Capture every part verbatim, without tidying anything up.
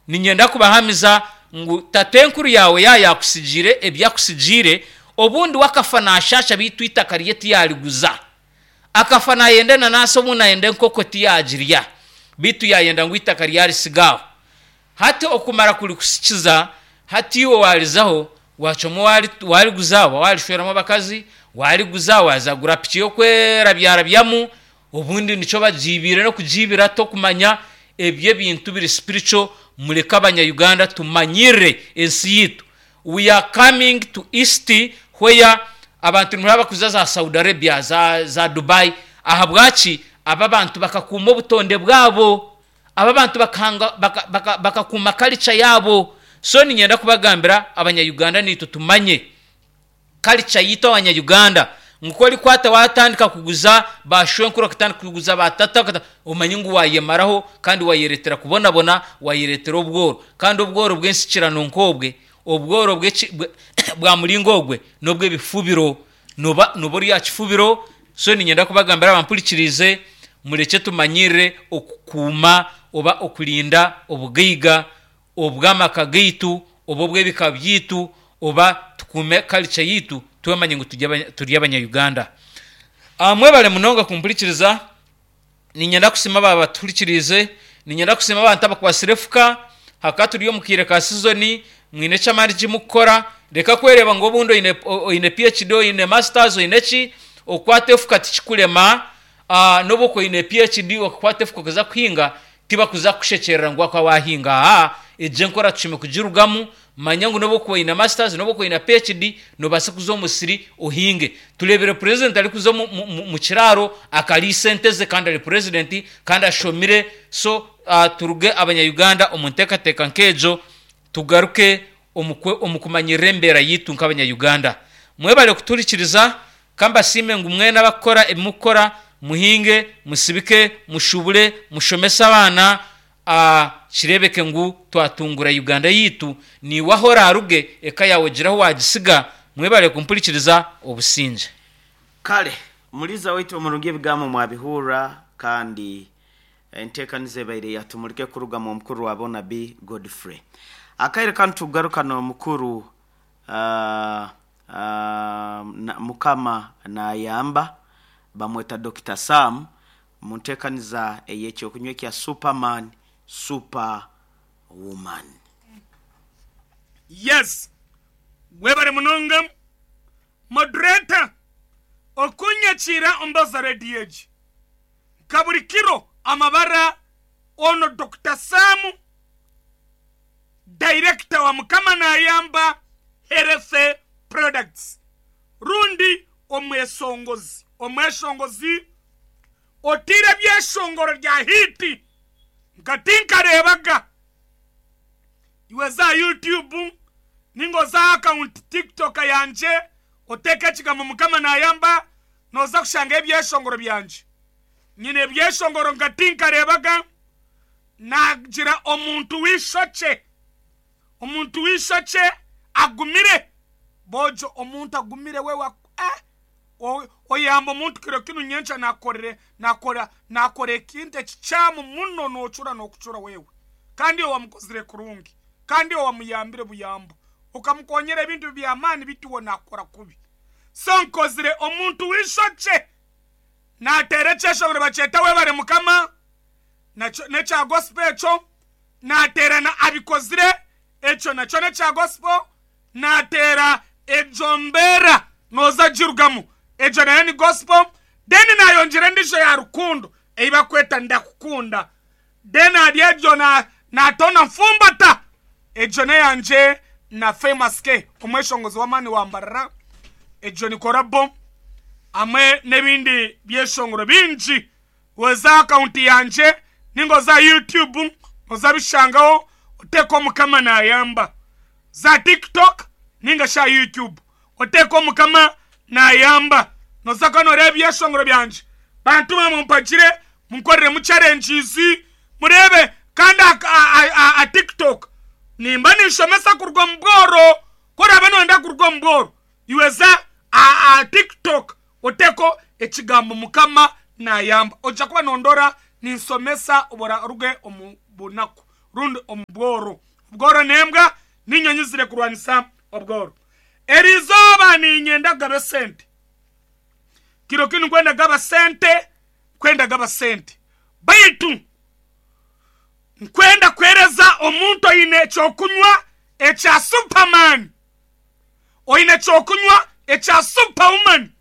Niinyenda kubahamiza ngu tatenkuru yaawe yaayakusigiire ebyakusigiire, obundi we akafa naashaasha beitu eitaka rye tiyariguza. Akafa naayenda enanasi obundi naayenda enkoko tiyaagirya, beitu yaayenda ngu eitaka ryarisiga aho. Hati okumara kurikusikiza, hati iwe waarizaho, waacwamu waariguza oba waarishweramu abakazi, waariguza waaza kugura piki y'okwerabyarabyamu, obundi nikyo bagiibiire n'okugiibira tokumanya. Ebyo ebintu biri spiritual, mureke abanya-Uganda tumanyirire ensi yaitu. We are coming to East where abantu nibaraba kuza za Saudi Arabia, za, za Dubai. Ahabwaki? Aba abantu bakakuuma obutonde bwabo. Aba abantu bakahanga, baka, baka, bakakuuma culture yaabo. So niinyenda kubagambira abanya-Uganda naitwe tumanye culture yaitu abanya-Uganda. Ngu ku orikwata waatandika kuguza baashwenkuru, okatandika kuguza baatata, okata- omanye ngu waayemaraho kandi waayereetera kubonabona, waayereetera obworo. Kandi obworo bw'ensikirano nk'obwe, obworo bw'eki- bwe- bwa muringo ogwe n'obw'ebifubiro. Nooba nooba ori aha kifubiro. So niinyenda kubagambira abampurikiriize, murekye tumanyirire okukuuma oba okurinda obugaiga obw'amaka gaitu oba obw'ebika byaitu oba tukuume culture yaitu twemanye ngu turi abanya-Uganda. Mwebare munonga kumpurikiriza. Niinyenda kusiima abaaba batuhurikiriize. Niinyenda kusiima abantu abakwatsire efuka. Hakaba turi omu kaire ka sizoni, mwine eky'amaani eki murikukora. Reka kwereeba ngu obundi oine oine PhD, oine masters, oine ki, okukwata efuka tikikurema. N'obu okuba oine PhD okakwata efuka okaza kuhinga, tibakuza kukushekyerera ngu wakuba waahinga. Aa, egyo enkora tushemeriire kugirugamu. Manya ngu n'obu okuba oine masters, n'obu okuba oine PhD, noobaasa kuza omu musiri ohinge. Tureebire purezidenti arikuza omu, omu, omu kiraaro akariisa ente ze kandi ari purezidenti kandi ashomire. So turuge abanya-Uganda omu nteekateeka nk'egyo, tugaruke omu, omu kumanyirira embeera yaitu nk'abanya-Uganda. Mwebare kutuhurikiriza. Ka mbasiime ngu mwena abakukora ebi mukukora, muhinge, musibike, mushubure, mushomese abaana, kireebeke ngu twatungura Uganda yaitu. Naiwe ahu oraaruge, eka yaawe ogire ahu waagisiga. Mwebare kumpurikiriza. Obusingye. Kale Muliza waitu omurungi ebigambo mwabihurra kandi enteekaniza ebaire yatumurike kurugamu omukuru wa boona B Godfrey. Akaire kanu tukugaruka n'omukuru uh, uh, Mukama nayamba bamweta Dokita Sam mu nteekaniza ey'ekyokunywa ekya Superman Super Woman. Yes webare munonga moderator okunyakiira ombaza radio egi nka buri kiro amabara ono Dokita Sam director wa Mukama Nayamba Health Products rundi omwesongozi omweshongozi oteire ebyeshongoro rya hiiti nka tinkareebaga. Iwe za aha YouTube ninga oze aha akawunti TikTok yangye oteeke ekigambo Mukama Nayamba nooza kushangayo ebyeshongoro byangye. Nyine ebyeshongoro nka tinkareebaga naagira omuntu w'eishokye, omuntu w'eishokye agumire, boojo omuntu agumire we wa eh oyamba omuntu kiro kinu nyenkya nakukorere nakora nakora ekintu ekikyamu muno nocura nokucura wewe kandi iwe wamukozire kurungi kandi iwe wamuyambire buyambo okamukonyera ebintu byamani bitu iwe nakukora kubi so nkozire omuntu wishokye natera ekyeshongoro bakyeta webare mukama nakyo nekya gospel ekyo natera na abikozire ekyo nakyo nekya gospel Naateera egyo mbeera nooza girugamu. Egyo nayo ni gospel. Then naayongyera endiijo ya rukundo ei barikweta Ndakukunda. Then ahari egyo naatoona Nfumbata. Egyo n'eyangye na Famous K omweshongozi w'amaani wa Mbarara. Egyo ni korabo hamwe n'ebindi byeshongoro bingi. Oze aha akawunti yangye ninga oze aha YouTube oze abishangaho oteekeho Mukama Naayamba. Za TikTok ninga shi aha YouTube oteeke Mukama Nayamba noza kuba noreeba ebyeshongoro byangye. Bantu mwe mumpagire munkoreremu challenges mureebe kandi aha TikTok nimba ninshomesa kuruga omu bworo ku oraabe noyenda kuruga omu bworo iwe za aha TikTok oteeko ekigambo Mukama Nayamba ojja kuba nondora ninshomesa obu oraruge omu bunaku. Rundi omubworo. Obworo nembwa ninyonyi zire kurwanisa obworo. Erizoba ninyenda kugaba sente. Kiro kinu kwenda gaba sente, kwenda gaba sente. Baitu nkwenda kwereza omuntu oine ekyokunywa ekya Superman. Oine ekyokunywa ekya Superwoman.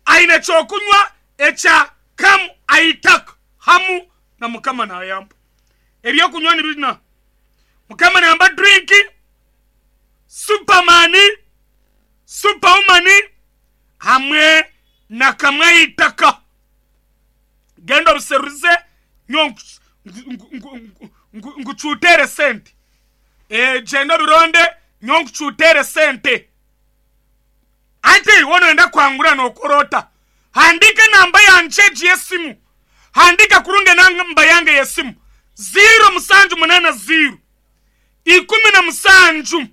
Aine ekyokunywa ekya Kamu Aitaka hamu na Mukama nayamba. Ebyokunywa ni bina. Mukama nayamba drink, Superman, Superwoman hamwe na Kamwe Aitaka. Genda obuseruze nyo nkucutere sente. E, genda obironde nyo nkucutere sente. Ati wono enda kwangura nokorota. Handika namba yanje y'esimu. Handika kurunge namba yange y'esimu. Zero musanju munana zero. Ikumi na musanju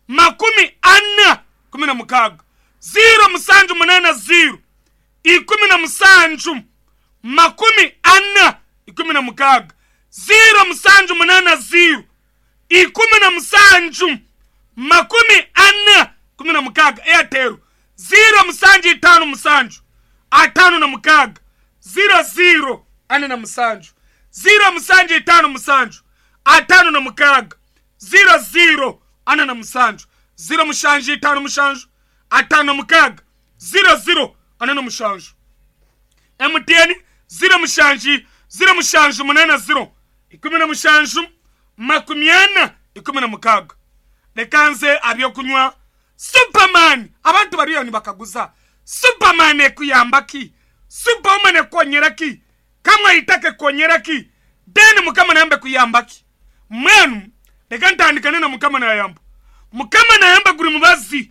makumi ana kumi na mukaga. Zero musanju munana zero. Ikumi na musanju makumi ana ikumi na mukaga. Zero musanju munana zero. Ikumi na musanju makumi ana kumi na mukaga. Airtel. Zero musanju itano musanju atano na mukaga. Zero zero ane na musanju. Zero musanju itano musanju atano na mukaga. Zero zero ane na musanju. Zero mushanju itano mushanju atano na mukaga. Zero zero ane na mushanju. M T N zero mushanju zero mushanju munana zero ikumi na mushanju makumi ana ikumi na mukaga. Lekanze abyokunywa Superman. Abantu bariyo nibakaguza Superman ekuyamba ki? Superwoman ekonyera ki? Kamwe Aitaka ekonyera ki? Then Mukama nayamba kuyamba ki? Mwenu leka ntandikane na Mukama nayamba. Mukama nayamba guri mubazi.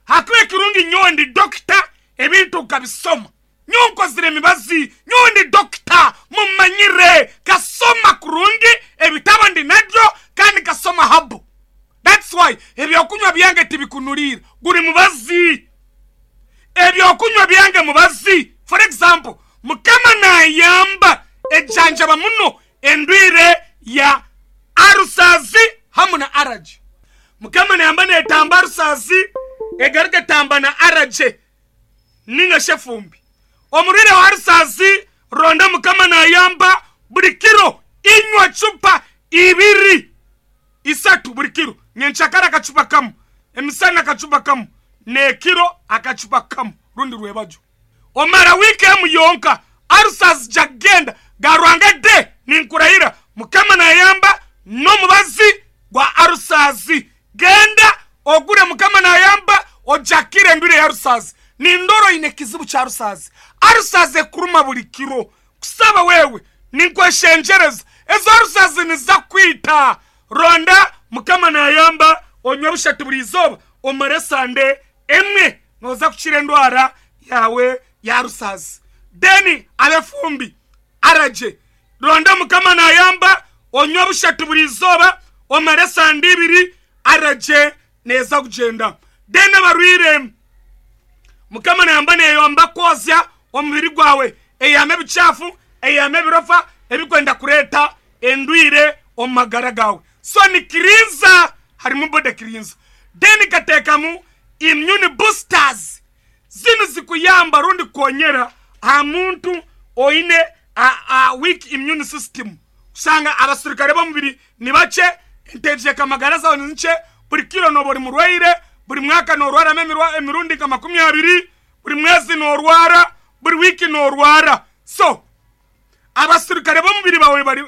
Hakuwe kirungi nyowe ndi doctor ebintu ukabisoma. Nyowe nkozire emibazi, nyowe ndi doctor mumanyire kasoma kurungi ebitabo ndi nabyo kandi kasoma habu. That's why ebyokunywa byange tibikunulira. Guri mubazi. Ebyokunywa byange mubazi. For example, Mukama nayamba ejanjaba muno endwire ya arusazi hamu na araje. Mukama nayamba netamba arusazi egaruka tamba na araje ninga shefumbi. Omurire wa arusazi ronda Mukama nayamba buri kiro inywa chupa ibiri isatu buri kiro. Nyenchakara akachupa kamu, emisana akachupa kamu, nekiro akachupa kamu rundi rwebajo. Omara wiki emu yonka arusazi jagenda garwanga de ninkurahira. Mukama nayamba no mubazi gwa arusazi. Genda ogure Mukama nayamba ojakire ndwire ya arusazi. Nindoro ine kizibu cha arusazi. Arusazi ekuruma buri kiro. Kusaba wewe ninkweshenjereza ezo arusazi nizakwita. Ronda Mukama nayamba onywa bushatu buri izoba omare sande emwe noza kuchira endwara yawe ya rusazi. Deni abefumbi araje. Ronda Mukama nayamba onywa bushatu buri izoba omare sande ibiri araje neza kugenda. Deni abarwire Mukama nayamba neyamba kozya omubiri gwawe eyame bichafu eyame birofa ebikwenda kureta endwire omagara gawe. So ni kirinza harimu bode kirinza. Deni katekamu immune boosters. Zinu zikuyamba rundi konyera ha muntu oine a, a weak immune system. Usanga abasirikare bomubiri ni bache entejeka magara zawe ni nche buri kilo no buri murwaire buri mwaka no rwara memirwa emirundi kama makumi abiri buri mwezi no rwara buri wiki no rwara. So abasirikare bomubiri bawe bari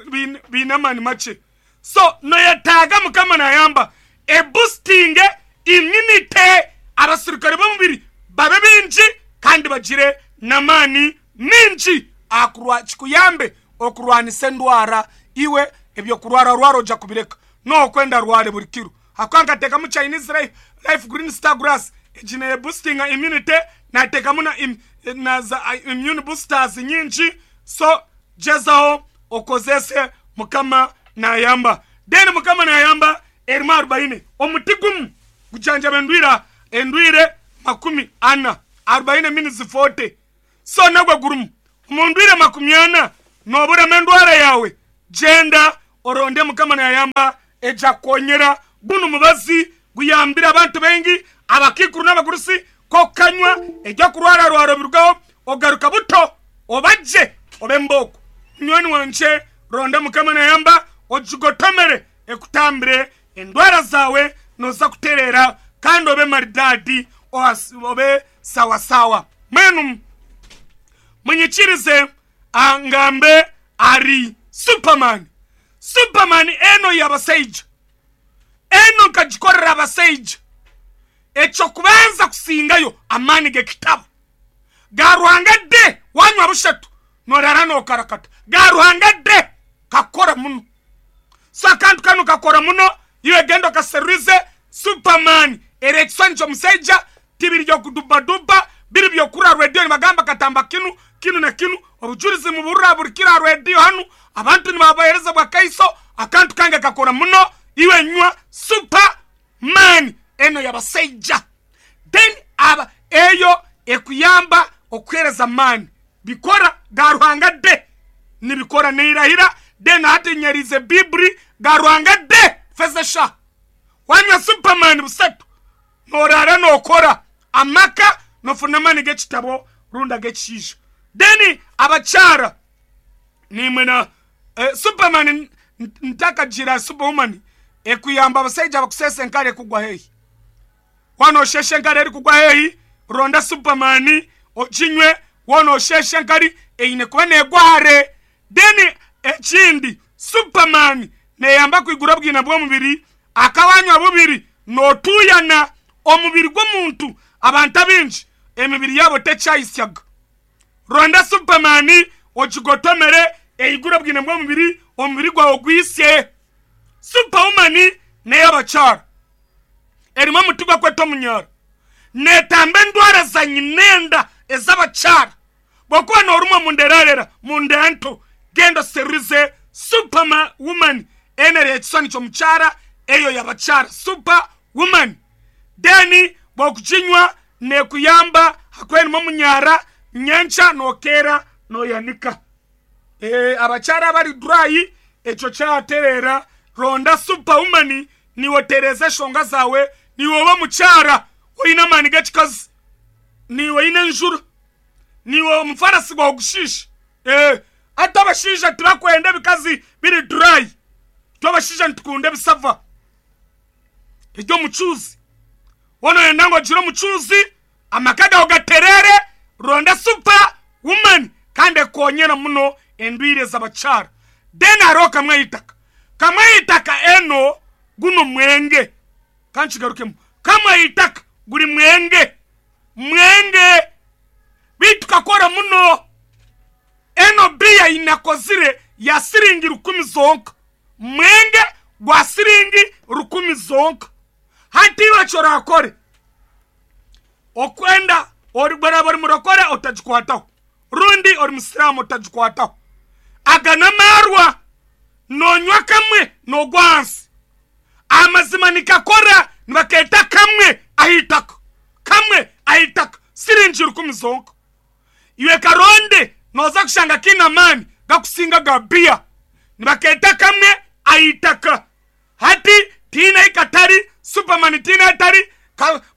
binamani mache. So noyetaga Mukama nayamba e boosting immunity abasirikare bomubiri babe binji kandi bagire namani minji akurwa chikuyambe okurwanisa endwara iwe ebyo kurwara rwaro oja kubireka no kwenda rware buri kiro. Hakanka tekamu Chinese life, life green star grass ejine boosting immunity na tekamu na, im, na za immune boosters nyinji. So jezaho okozese Mukama nayamba. Then Mukama nayamba erima arobaini omuti gumu gujanjaba endwira endwire makumi ana arobaini minutes forty. So nagwe gurumu omundwire makumi ana noburema endwara yawe. Genda Oronde Mukama nayamba eja kukonyera. Guno mubazi guyambira abantu baingi, abakikuru n'abagurusi, kokanywa ejya kurwara rwaro birugaho, ogaruka buto obaje obe mboko. Munywani wanje, ronda Mukama nayamba ojigotomere ekutambire endwara zawe, noza kuterera kandi obe maridadi, obe sawasawa. Mwenu munyikirize angambe ari Superman. Superman eno y'abasaija, eno nkagikorera abasaija. Ekyo kubanza kusingayo amaani g'ekitabo ga Ruhanga de wanywa bushatu norara nokarakata ga Ruhanga de kakora muno. So akantu kano kakora muno, iwe genda okaseruze Superman erekisani ky'omusaija, tibiri byokudubaduba, biri byokura rediyo nibagamba katamba kinu kinu na kinu, obujulizi muburura buri kira rediyo hanu abantu nibabahereza bwa kaiso. Akantu kange kakora muno, iwe nywa Superman eno y'abasaija. Then aba eyo ekuyamba okuhereza mani bikora ga Ruhanga de nibikora neirahira. Then hati nyerize bibri ga Ruhanga de fezesha wanywa Superman busatu norara nokora amaka nofuna mani g'ekitabo runda g'ekishiisha. Then abakyara nimwe na eh, Superman ntakagira Superwoman ekuyamba abasaija bakusesa enkare ekugwa hehi. Wano osheshe enkare erikugwa hehi, ronda Superman okinywe. Wano osheshe enkari eine kuba negwa hare. Then ekindi Superman neyamba kwigura bwina bw'omubiri, akawanywa bubiri notuyana omubiri gw'omuntu. Abantu abingi emibiri yabo tekyayisyaga. Ronda Superman okigotomere eigura bwina bw'omubiri, omubiri gwawe gwisye. Superwoman ney'abakyara erimu omuti gwakweta omunyara, netamba endwara za nyinenda ez'abakyara. Bwokuba norumwa munderarera munda nto, genda serize Superwoman enere ekisani ky'omukyara, eyo y'abakyara Superwoman. Then bwokukinywa nekuyamba hakwerimu omunyara nyencha nokera noyanika. E, abakyara abari dry ekyo kyaterera. Ronda Superwoman niwotereza eshonga zawe, niwe oba mukyara oyine amaani g'ekikazi, niwe oyine enjura, niwe omufarasi gwawe gushiisha. Eh, ate abashaija tibakwenda ebikazi biri dry, twe abashaija nitukunda ebisava eby'omucuuzi. Woona oyenda ngu ogire omucuuzi amaka gawe gaterere, ronda Superwoman kandi ekonyera muno endwire z'abakyara. Then hariho kamwe eitaka, kamwe eitaka eno guno mwenge, kankigarukemu, kamwe eitaka guri mwenge mwenge bitu kakora muno. Eno biya inakozire ya siringi rukumi zonka, mwenge gwa siringi rukumi zonka. Hati iwe kyorakore okwenda ori bwaraba ori murokore otagikwataho, rundi ori musiramu otagikwataho. Aga n'amarwa nonywa kamwe nogwa hansi. Amazima nikakora nibaketa kamwe ahitaka, kamwe ahitaka siringi rukumi zonka. Iwe karonde noza kushanga kina mani gakusinga ga bia, nibaketa kamwe ahitaka. Hati tina ikatari Superman tina etari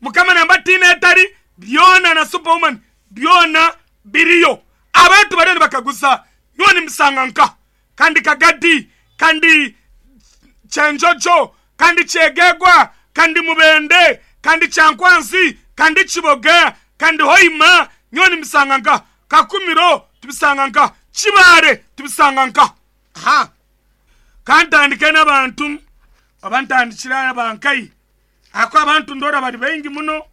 Mukama namba tina etari byona na Superwoman byona biriyo. Abantu bariyo nibakaguza nyowe nimusanga nka kandi Kagadi kandi Kyenjojo kandi Kyegegwa kandi Mubende kandi Kyankwanzi kandi Kiboga kandi Hoima, nyowe nimusanga nka Kakumiro tubisanga nka Kibare tubisanga nka. Ha kantandike n'abantu abantandikira abankai ako abantu ndora bari baingi muno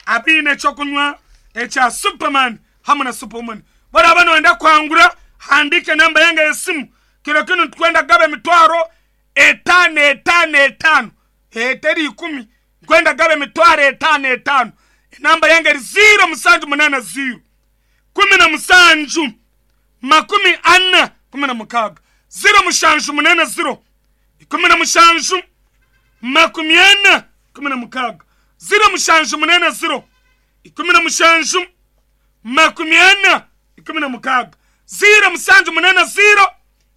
abiine ekyokunywa ekya Superman hamwe na Superwoman. Baraba noyenda kwangura, handike namba yange y'esimu. Kiro kinu nitukwenda kugaba emitwaro etaano etaano etaano eteri ikumi, nkwenda kugaba emitwaro etaano etaano. Enamba yange eri ziro musanju munana ziro kumi na musanju makumi ana kumi na mukaaga, ziro mushanju munana ziro ikumi na mushanju makumi ana kumi na mukaaga, ziro mushanju munana ziro ikumi na mushanju makumi ana ikumi na mukaaga, ziro musanju munana ziro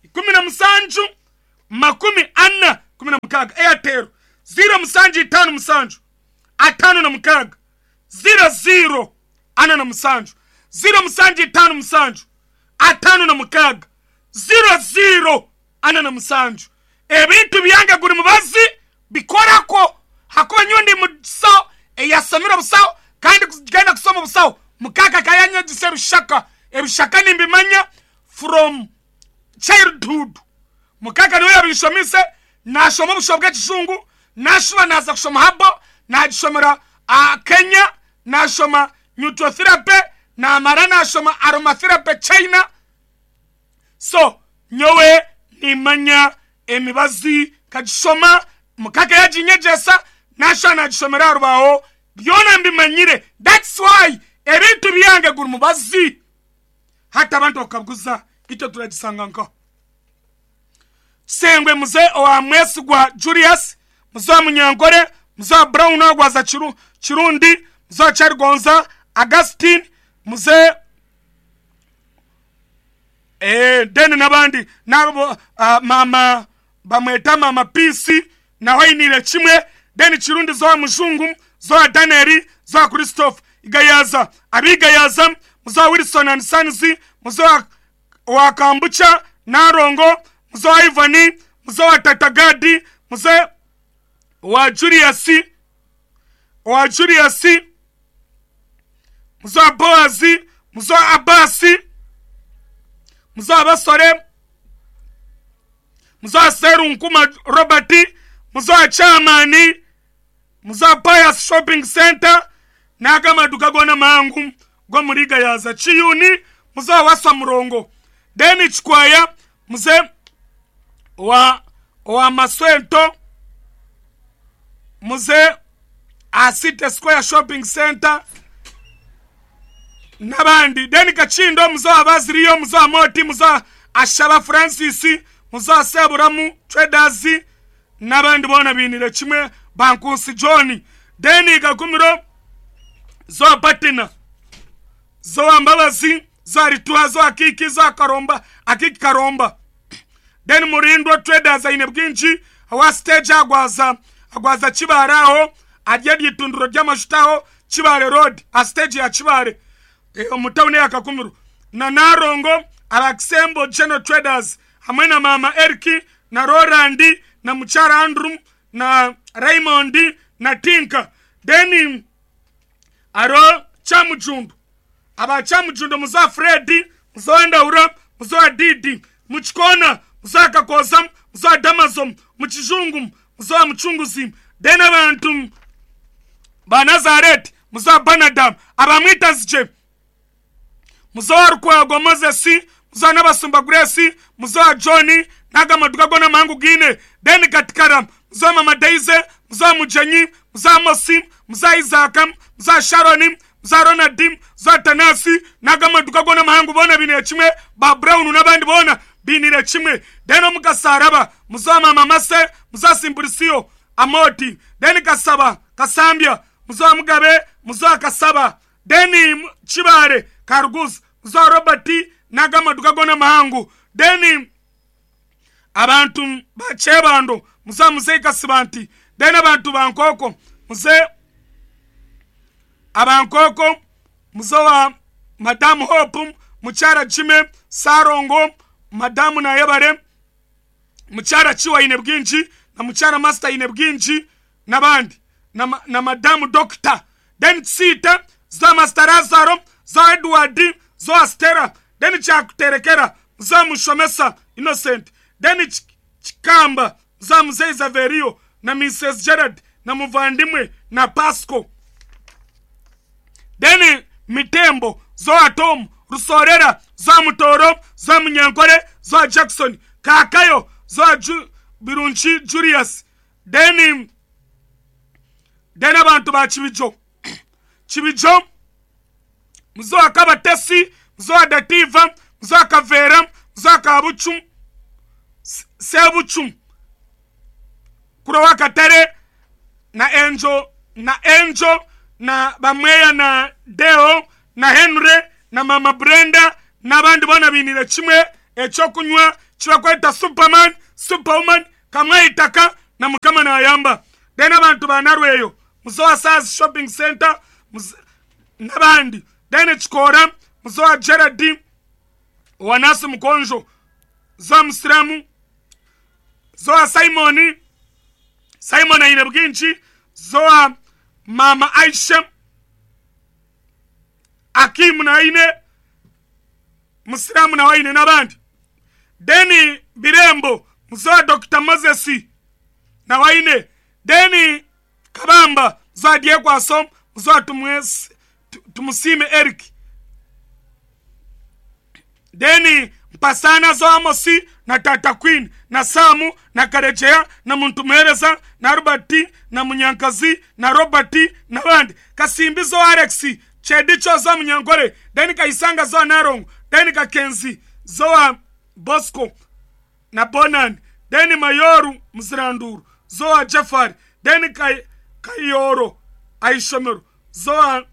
ikumi na musanju makumi ana kumi na mukaaga. Airtel ziro musanju itaano musanju ataano na mukaaga ziro ziro ana na musanju. Ziro musanju itaano musanju ataano na mukaaga ziro ziro ana na musanju. Ebintu byange guri mubazi bikorako hakuba nyowe ndi musawo eyasomire obusawo kandi kugenda kusoma obusawo mukaka kayanyegisa ebishaka. Ebishaka nimbimanya from childhood. Mukaka niwe yabishomise, nashoma obusho bw'ekijungu, nashuba naza kushoma habo, nagishomera uh, Kenya, nashoma nutrotherapy, namara nashoma aromatherapy China. So nyowe nimanya emibazi kagishoma, mukaka yaginyegesa, nashuba nagishomera arubaho, byona mbimanyire. That's why ebintu byange guri mubazi. Hata abantu bakabuguza icyo turagisanga nkaho. Sengwe muze owa Mwesigwa Julius, muze wa Munyankore, muze wa Brown Agwaza Chiru, Chirundi, muze wa Kyarigonza Augustine, muze eh deni n'abandi nabo, uh, mama bamweta mama Peace naho ayinire kimwe. Deni Chirundi zo wa Mujungu, zo wa Daniel, zo wa Christophe Igayaza, abigayaza, muze wa Wilson and Sons, muze wa, wa Kambucha Narongo, muze wa Ivani, muze wa Tatagadi, muze wa Julius, wa Julius, muze wa Boazi, muze wa Abasi, muze wa Basore, muze wa Serunkuma Robert, muze wa Chamani, muze wa Pius Shopping Center, n'agamaduka gona mangu go muri Gayaza Chiyuni, muze wa Waswa Murongo. Deni Chikwaya, muze wa, wa Maswento, muze a City Square Shopping Center n'abandi. Deni Kachindo, muze wa Baziriyo, muze wa Moti, muze wa Ashaba Francis, muze wa Seburamu Traders n'abandi bona binire kimwe, Bankusi John. Deni Gakumiro, zo Patina, zo Mbabazi, zo Rituwa, zo Akiki, zo Karomba, Akiki Karomba. Deni Murindwa Traders aine bwinji, awa stage agwaza, agwaza Kibare aho, arye ryitunduro ry'amashutaho Kibare Road, a stage ya Kibare, e, omutawuni ya Kakumiro. Na Narongo, Abakisembo General Traders, hamwe na Mama Eriki, na Rolandi, na Muchara Andrew, na Raymond, na Tinka. Deni aro Chamujundu, aba Chamujundu muza Fredi, muza Ndaura, muza Didi, muchikona, muza Kakoza, muza Damazom, muchizungu, muza Muchunguzi. Deni abantu ba Nazareth, muza Banadam, abamwita zije, muza Rukwago Moses, muza Nabasumba Grace, muza Johnny, n'agamaduka gona mangu gine. Deni Katikara, muza Mama Daisy, muza Mujenyi, muza Mosi, muza Isaac, muza Sharoni, muza Ronald, muza Tanasi, n'agamaduka gona mahangu bona binire kimwe, ba Brown n'abandi bona binire kimwe. Deni Mukasaraba, muza Mama Mase, muza Simburisio Amoti. Deni Kasaba, Kasambia, muza Mugabe, muza Kasaba. Deni Chibare, Karuguz, muza Robert, n'agamaduka gona mahangu. Deni abantu ba Chebando, muza Muzeyi Kasibanti. Deni abantu ba Nkoko, muze abankoko, muze wa Madamu Hope, Muchara Jime, Sarongo, Madamu Nayebare, Muchara Chiwa ine bwinji, na Muchara Master ine bwinji, n'abandi, na, na Madamu Doctor. Deni Tsita, za Master Lazaro, za Edward, za Stella. Deni Chakuterekera, za Mushomesa Innocent. Deni Chikamba, za Mzee Zaverio, na Missus Gerard, na Muvandimwe, na Pasco. Deni Mitembo, zo Tom, Rusorera, zo Mutoro, zo Munyankore, zo Jackson, Kakayo, zo Ju, Birunchi Julius. Deni Deni abantu ba Chibijo. Chibijo, muzo Akabatesi, muzo Dativa, muzo Kavera, muzo Kabuchum, Sebuchum, Kurowa Katere, na Angel, na Angel, na Bamweya, na Deo, na Henry, na Mama Brenda, n'abandi bona binire kimwe. Ekyokunywa kibakweta Superman, Superwoman Kamwaitaka na Mukama nayamba. Then abantu ba Narweyo Muzoa Saz Shopping Center n'abandi. Then Chikora Muzoa Gerard Wanasi Mukonjo Zoa Musiramu Zoa Simoni Simon aine bwinshi Zoa Mama Aisha Akimu na aine Musiramu na waine n'abandi. Deni Birembo Muzoa Doctor Moses na waine. Deni Kabamba Muzoa Diekwaso Muzoa Tumwesi Tumusime Eric. Deni Mpasana Zoa Amosi na Tata Queen na Samu na Karejea na Muntumereza na Robert na Munyankazi na Robert na bandi. Kasimbi Zoa Alex Chedicho Zoa Munyankore. Deni Kaisanga Zoa Narongo. Deni Kakenzi Zoa Bosco na Bonan. Deni Mayoru Mziranduru Zoa Jafari. Deni Kay, Kayoro Aishomero Zoa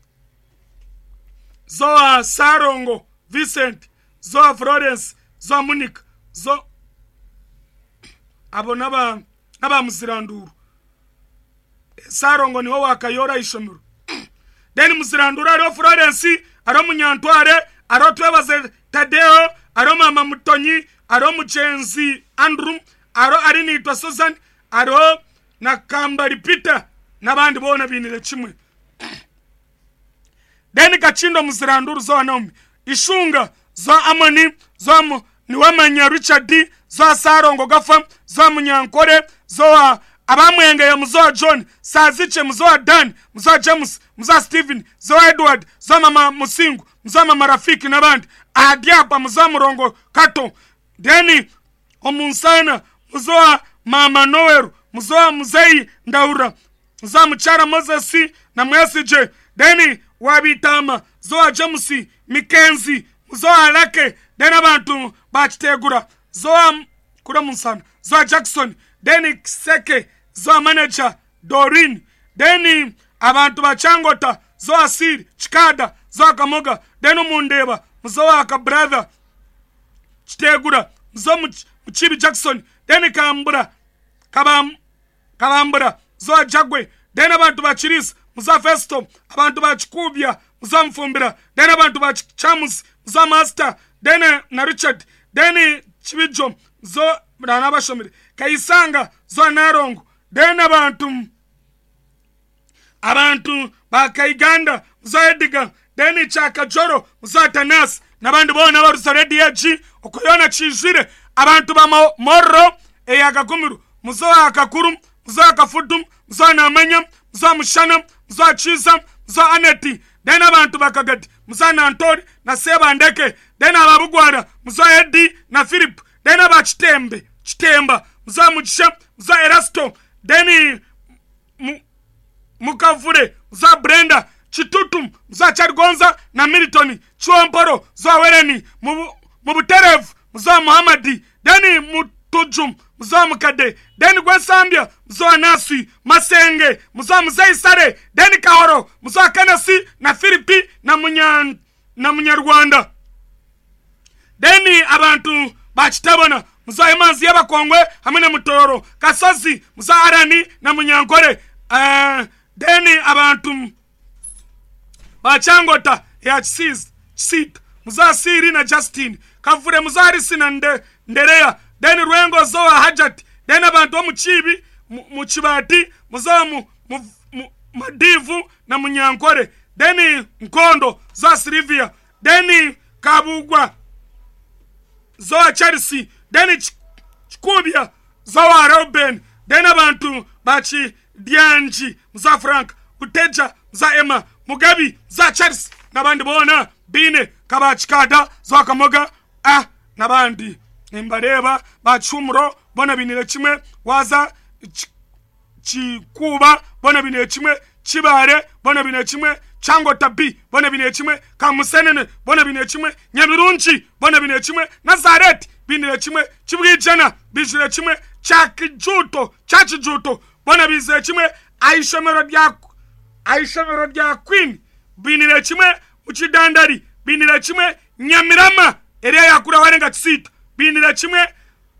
Zoa Sarongo Vincent Zoa Florence Zoa Monica Zo abo naba naba Muziranduru. Sarongo niho wakayora Aishomero. Deni Muziranduru ariho Florence ariho Munyantware ariho Twebaze Tadeo ariho Mama Mutonyi ariho Mugenzi Andrew ariho Arinitwa Susan ariho na Kambari Peter n'abandi bona binire kimwe. Deni Kachindo Muziranduru Zoa Naomi Ishunga Zoa Amoni Zoa Niwamanya Richard Zoa Sarongo Gafa Zoa Munyankore Zoa Abamwenge ya Muzoa John Saziche Muzoa Dan Muzoa James Muzoa Steven Zoa Edward Zoa Mama Musingu Muzoa Mama Rafiki n'abandi. Adiapa Muzoa Murongo Kato. Deni Omunsana Muzoa Mama Noel Muzoa Muzei Ndaura Muzoa Muchara Moses na Mwesije. Deni Wabitama Zoa James Mikenzi Muzoa Alake. Deni abantu bakitegura Zoa kura Munsana Zoa Jackson. Deni Kiseke Zoa Manager Dorin. Deni abantu bachangota Zoa Siri Chikada Zoa Kamoga. Deni Mundeba Muzoa ka brother Kitegura Muzoa Muchibi Jackson. Deni Kambura Kabam Kabambura Zoa Jagwe. Deni abantu bachirisi Muzoa Festo abantu bachikubya Muzoa Mfumbira. Deni abantu bachamus Muzoa Master. Deni na Richard. Deni Chibijo Zoa Ranabashomire Kaisanga Zoa Narongo. Deni abantu abantu bakaiganda Muzoa Edgar. Deni Chakajoro Muzoa Tanas n'abandi bona barusa Radio G okuyona kijire abantu ba Morro eyakagumiru Muzoa Akakuru Muzoa Kafudu Muzoa Namanya Muzoa Mushana Muzoa Chiza Muzoa Aneti. Deni abantu bakagadi Muzoa Nantori na Sebandeke. Deni ababugwara Muzoa Edi na Philip. Deni abachitembe Chitemba Muzoa Mugisha Muzoa Erasto. Deni Mukavure Muzoa Brenda Chitutu Muzoa Charigonza na Milton Chiwamporo Muzoa Wereni Mubuterevu Muzoa Muhammadi. Deni Mutujum Muzoa Mukade. Deni Gwesambia Muzoa Nasi Masenge Muzoa Muzei Sare. Deni Kahoro Muzoa Kanasi na Filipi na Munyan na Munyarwanda. Deni abantu bakitabona Muzoa Imanzi y'Abakongwe hamwe na Mutoro Kasozi Muzoa Arani na Munyankore. Uh, deni abantu bachangota ya Chisita Muzoa Siri na Justin Kavure Muzoa Harisi na Nde, Nderea. Deni Rwengo Zoa Hajat. Deni abantu muchibi Muchibati Muzoa mu, mu, mu, Madivu na Munyankore. Deni Nkondo Zoa Silvia. Deni Kabugwa Zoa Chelsea. Deni Chikubya Zoa Robin. Deni abantu bachi Dianji Muzoa Frank Uteja Muzoa Emma Mugabi Muzoa Charles n'abandi bona bine kabachikada Zoa Kamoga ah n'abandi nimbareba bachumuro bona binire kimwe waza Chikuba bona binire kimwe Chibare bona binire kimwe Changota B bona binire kimwe Kamusenene bona binire kimwe Nyabirungi bona binire kimwe Nazareth binire kimwe Chibwijana bijire kimwe Chakijuto Chachijuto bona bizire kimwe Aishomero rya Aishomero rya Queen binire kimwe Muchidandari binire kimwe Nyamirama area yakura warenga Chisita binire kimwe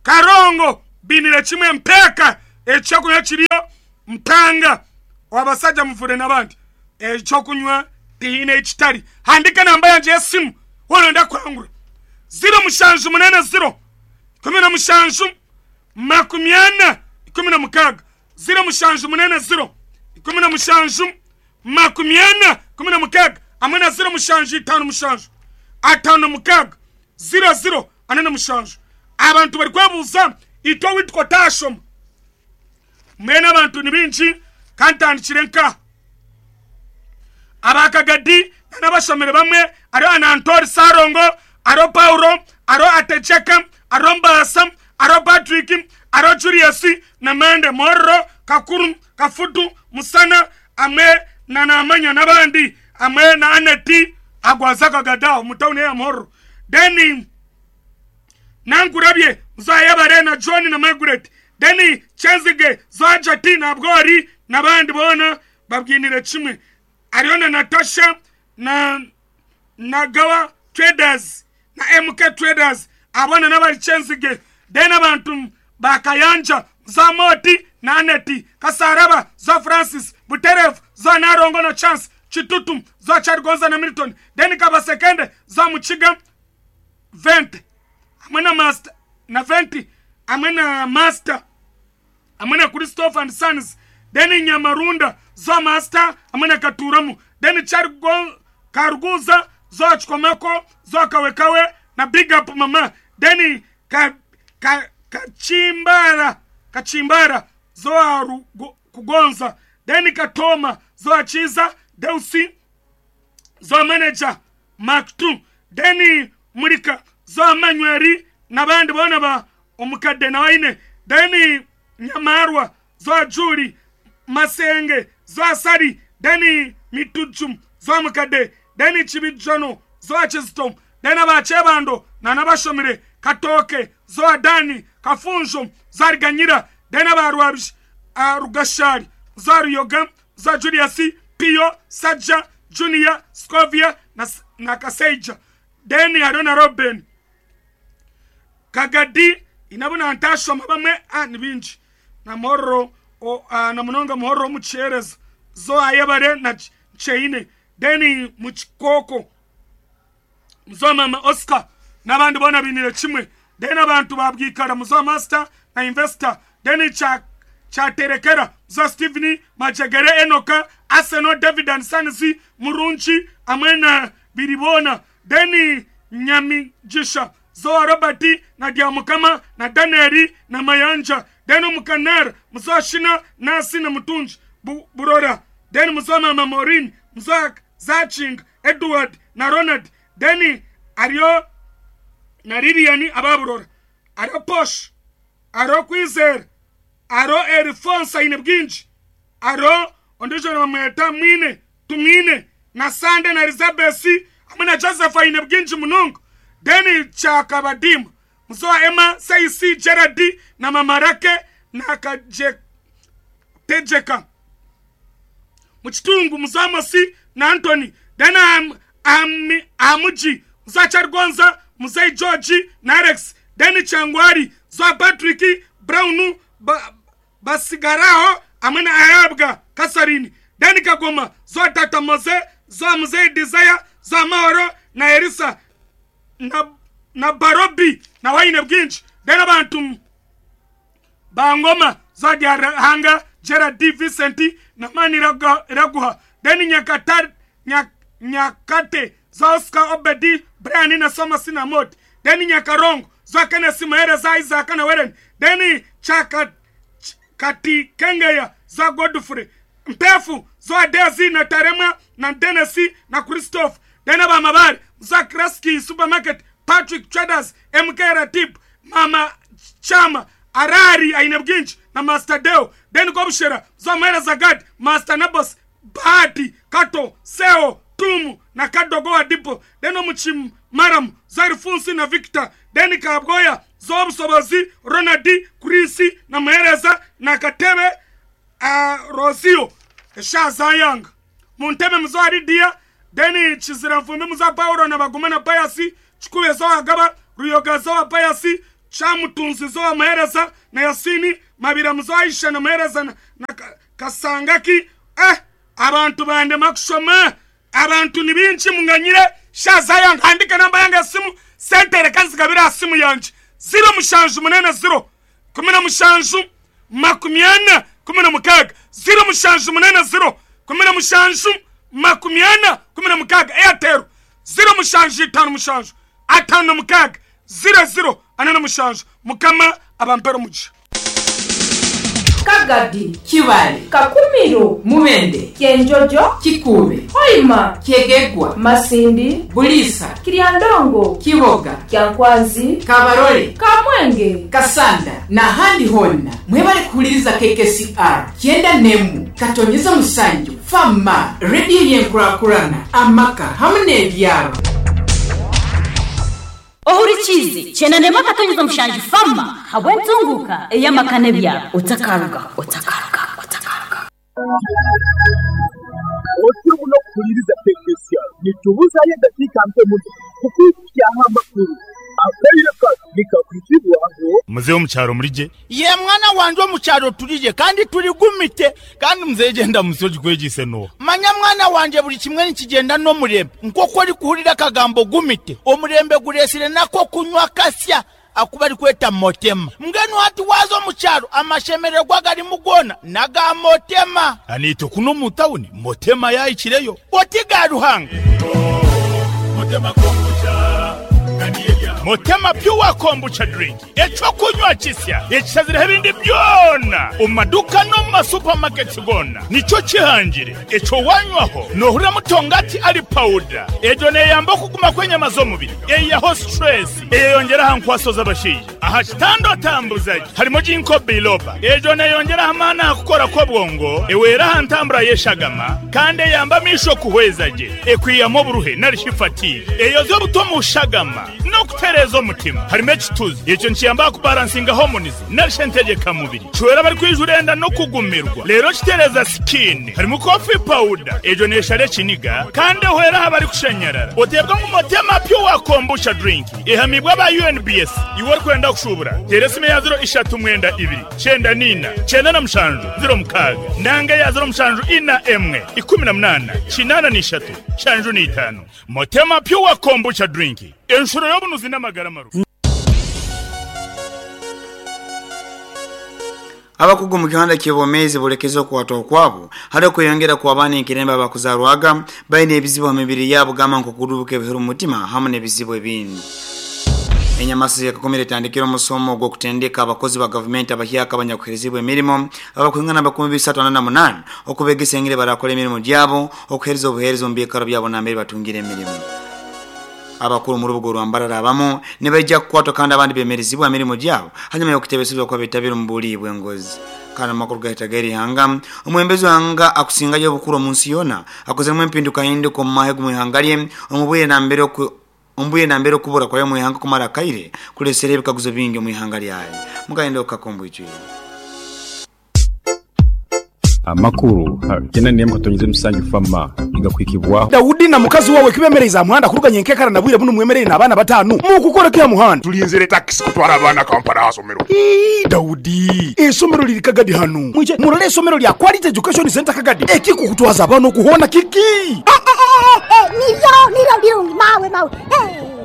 Karongo Binire kimwe mpeeka ekyokunywa kiriyo mpanga wabasajja muvure n'abandi ekyokunywa tihiine ekitari. Handika namba yangye y'esimu woronda kwangura ziro mushanju munana ziro ikumi na mushanju makumi ana ikumi na mukaaga ziro mushanju munana ziro ikumi na mushanju makumi ana ikumi na mukaaga hamwe na ziro mushanju itaano mushanju ataano mukaaga ziro ziro ana na mushanju. Abantu bari kwebuuza itwe witwa tashoma mwene abantu ni bingi kandi tandikire nka abakagadi n'abashomere bamwe ariho Anantori Sarongo, ariho Paulo, ariho Atecheka, ariho Mbasa, ariho Patrick, ariho Julius na Mende Morro, Kakuru, Kafutu, Musana, amwe na Namanya n'abandi, amwe na Aneti agwaza Kagadao mutawuni ya Morro. Then Nangurabye Zayabare na John na Margaret. Then Chenzige Zajati na Bgori n'abandi bona babwinire kimwe. Ariyo na Natasha na Nagawa Traders na M K Traders abona n'abari Chenzige. Then abantu bakayanja za Moti na Aneti Kasaraba za Francis Buterev za Narongo na Chance Chitutu za Chargonza na Milton. Then Kabasekende za Muchiga Vente amwe na Master na Venti amwe na Master amwe na Christopher and Sons. Then Nyamarunda za Master amwe na Katuramu. Then Chargo Karuguza za Chikomeko za Kawekawe na Big Up Mama. Then ka, ka, Kachimbara Kachimbara za Kugonza. Then Katoma za Chiza Deusi za Manager Mark two. Then Murika za Manyweri n'abandi bona ba omukadde na waine. Then Nyamarwa za Juli Masenge za Sari. Then Mitujum za mukadde. Then Chibijono za Chistom. Then abachebando na nabashomire Katoke za Dani Kafunjo za Riganyira. Then abarwabish Rugashari za Ruyoga za Julius Pio Saja Junior Scovia na, na Kaseja. Then Arona Robin Kagadi inabona antashoma bamwe ah ni bingi na Morro o ah, na munonga Morro muchereza zo ayebare na Cheine. Then muchikoko muzo mama Oscar n'abandi bona binire kimwe. Then abantu babwikara muzo master na investor. Then cha chaterekera zo Steven Majegere Enoka Arsenal David and Sons Murunchi amwe na Biribona. Then Nyamijisha zo Robert na Diamukama na Danieli na Mayanja. Then Mukanar muzo Shina Nasi na Mutunji Bu, Burora. Then muzo mama Maureen muzo Zaching Edward na Ronald. Then Ario na Lilian ababurora. Ario Posh Ario Kwizer Aro Erifonsa ine bwinji Aro ondijo na mweta mwine tumwine na Sande na Elizabeth amwe na Joseph ine bwinji munungu. Then Chakabadimu muzo Emma Seisi Gerard na Mamarake na Kaje Tejeka Muchitungu muzo Amosi na Anthony. Then am, am, Amuji muzo Chargonza muzo George na Alex. Then Changwari zo Patrick Brown ba, Basigaraho amwe na Ayabga Kasarini. Then Kagoma zo Tata Moze zo Mzee Desire zo Mahoro na Erisa na, na Barobi na Waine Bwinji. Then abantu Bangoma zo Hanga Gerard D Vincent na Mani Raguha. Then Nyakata Nyak, Nyakate zo Oscar Obedi Brian na Soma Sinamot. Then Nyakarongo zo Kenneth Mahere za Isaac na Weren. Then Chaka Kati Kengeya zo Godfrey Mpefu zo Dezi na Tarema na Denesi na Christophe. Then Abamabari zo Kraski Supermarket Patrick Traders M K Ratib Mama Chama Arari Aine Bwinji na Master Deo. Then Gobshera zo Mera Zagad Master Nabos Bahati Kato Seo Tumu na Kadogo Adipo. Then Omuchim Maram zo Alfonso na Victor. Then Kabgoya zo Busobozi Ronaldi Krisi na Muhereza na Katebe uh, Rosio Shazayang Munteme muzo Aridia. Then Chizira Mfumbi muzo Paulo na Baguma na Payasi Chikube zo Agaba Ruyoga zo Payasi Kyamutunzizo omuheereza na Yasini Mabiramuzo Aisha n'omuheereza na, na Kasangaki. Eh, abantu bandema kushoma, abantu ni bingi munganyire. Shazaya nkandike namba yange esimu, sente reka nzigabira aha simu yangye ziro mushanju munene ziro kumi na mushanju makumi ana kumi na mukaaga ziro mushanju munene ziro kumi na mushanju makumi ana kumi na mukaaga. Airtel ziro mushanju itano mushanju atano na mukaaga ziro ziro ana na mushanju. Mukama abampere omugisha. Kagadi, Kibale, Kakumiro, Mubende, Kyenjojo, Kikuube, Hoima, Kyegegwa, Masindi, Bulisa, Kiryandongo, Kiboga, Kyankwanzi, Kabarole, Kamwenge, Kasanda n'ahandi honna. Mwebale kuhuliriza K K C R kyenda n'emu katonyeza musanju fama rediyo y'enkurakurana amaka hamwe n'ebyaro. Ohurikizi kyenda n'emu akatonyeza mushanju fama habwe ntunguka ey'amaka n'ebyaro. Otakaruga, otakaruga, otakaruga. Otyo muno kuhuliriza K K C R nitubuzayo eddakiika mpe muno kukwikyaho amakuru. Akaire kano nikakwitibwaho. Muzehe omukyaro murije? Ye mwana wanje omukyaro turije kandi turigumite kandi muzehe genda musoji kwegise no. Manya mwana wanje buli kimwe nikigenda n'omurembe nk'oku ori kuhurira akagambo gumite omurembe guresire nako kunywa kasya akuba ari kweta motema. Mbwenu hati waza omukyaro amashemererwa garimu goona naga motema. Anito kuno mu tawuni motema yayikireyo. Oti ga Ruhanga. Motema kombucha. Motema pure kombucha drink ekyokunywa kisya ekisazire ebindi byona omu maduka no mu masupamaketi gona nikyo kihangire ekyo wanywaho nohurira mutongati ari powder egyo neyamba okuguma kw'enyama z'omubiri eyaho stress eyeyongera aha nkwaso z'abashaija aha kitanda otambuzaje harimo ginkgo biloba egyo neyongera aha maani aha kukora kw'obwongo ewera aha ntambura y'eshagama kandi eyamba amisho kuhweza gye ekwiyamu oburuhe narishi fatigue eyoza obuto mu shagama n'okutereeza omutima harimo ekituzi ekyo nikiyamba kubalansinga hormones narishe ntegekamubiri kiwera bari kwijura enda n'okugumirwa leero kitereeza skin harimo coffee powder egyo neshara ekiniga kandi ehwera aha bari kushanyarara oteebwa ngu motema pure kombucha drink ehamibwa aba U N B S iwe orikwenda kushubura teera esimu ya ziro ishatu mwenda ibiri kyenda nina kyenda na mushanju ziro mukaaga nanga ya ziro mushanju ina emwe ikumi na munana kinana n'ishatu shanju n'itaano. Motema pure kombucha drink enshuro y'obunuzi n'amagara maru. Abakugu mu kiwanda ky'obwomeezi bulekeza okukwata okwabo hali okweyongera ku abaana enkirembe abakuzarwaga balina ebizibu mu mibiri yaabo gamba nk'okudubuka ebihuru mu mutima hamu n'ebizibu ebindi. Enyamasi yakakomera etandikira omusomo ogw'okutendeka abakozi ba gavumenti abahyaka abanyakuherezibwa emirimo abakwingana bakumi bisatu ana na munaana okubegesa engeri barakola emirimu gyabo okuhereza obuheereza omu biikaro byabo nambere batungire emirimu. Abakuru mu rubuga rwa abamu ne bajja kukwatwa kandi abandi bemerezibwa emirimu gyabo hanyuma y'okutebesebwa kwa betabira mu buli bw'engozi. Kandi amakuru gahita gerihanga omwembezi wanga akusingayo obukuru mu nsi yona akozemu empinduka hinduka omu mahe g'omwihanga lye omubwire nambere omubwire nambere okubura kwayo omwihanga kumara kaire kulesera ebikaguzo bingi omwihanga lyayo. Mugenda okakombwijwire. Amakuru kyenda n'emu katonyeze musanju fama igakwikibwaho. Daudi na mukazi wawe kibemereza muhanda kuruganya enkekara na bwire buno mwemerere n'abaana batanu mukukora kya muhanda tulinzire taxi kutwara abaana Kampala asomero. Ii Daudi esomero liri Kagadi hanu mwije murole esomero lya Quality Education Center Kagadi ekikukutwaza abaana okuhona kiki nivyo nivyo birungi mawe mawe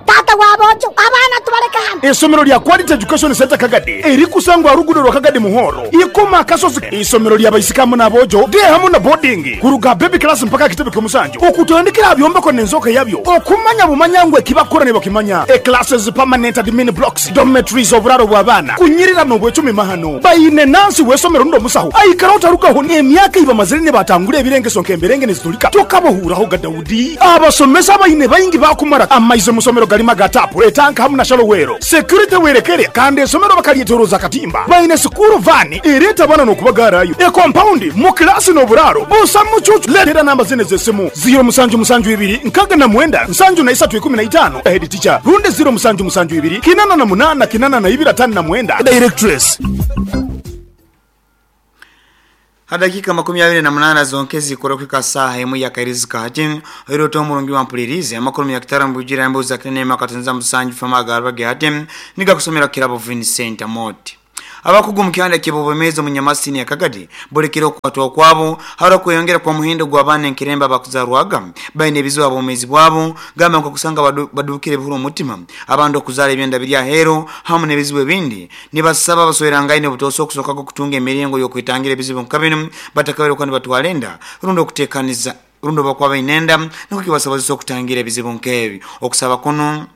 tata wabojo abana tubaleka hano. Esomero lya Quality Education Center Kagadi erikusangwa rugudo rwa Kagadi muhoro ikoma akasozi. Isomero lya baisikamu nabojo de hamu na boarding kuruga baby class mpaka kitebe kyomusanju okutandikira byombeko nenzoka yabyo okumanya bumanyangwe kibakora ne bakimanya e classes permanent admin blocks dormitories oburaro bw'abana kunyirira no bwecumi mahano bayine nansi wesomero ndo musaho aikara utarugaho emyaka iba mazire batangure ebirengeso nkemberenge nezitulika tokabohuraho ga Daudi abasomesa bayine bayingi bakumara amaize musomero galima gatapu etanka hamu na shalowero security werekere kandi esomero bakaliyetoroza katimba bayine sukuru vani ereta bana no kubagarayo e compound mu klasi no buraro busa mucucu letera namba zine zesimu zero musanju musanju ibiri nkaga na mwenda nsanju na isatu ikumi na itano head teacher runde zero musanju musanju ibiri kinana na munana kinana na ibiri atano na mwenda directress. Hadakika makumi abiri na munana zonkezi kurokwika saha emu ya kairizika hati oiro to mulungi wa mpulirizi amakuru ya kitara mbujira mbuza kinene makatanza musanju fama garba hati niga kusomera kirabo Vincent Amoti. Abakugu mu kibobemezo munyamasini ya Kagadi bolekero kwatwa kwabo haro kuyongera kwa muhindo gwa bane nkiremba bakuzarwaga baine ebizibu abomezi bwabo gamba nko kusanga badu, badukire buhuru mutima abando kuzala ebyenda birya hero hamu nebizibu ebindi nibasaba basoerangaine butoso kusoka kutunga emiringo yo kwitangira ebizibu nkabino batakabero kandi batwalenda rundo kutekaniza rundo bakwa bainenda nuko kibasabazisa okutangira ebizibu nkebi okusaba kuno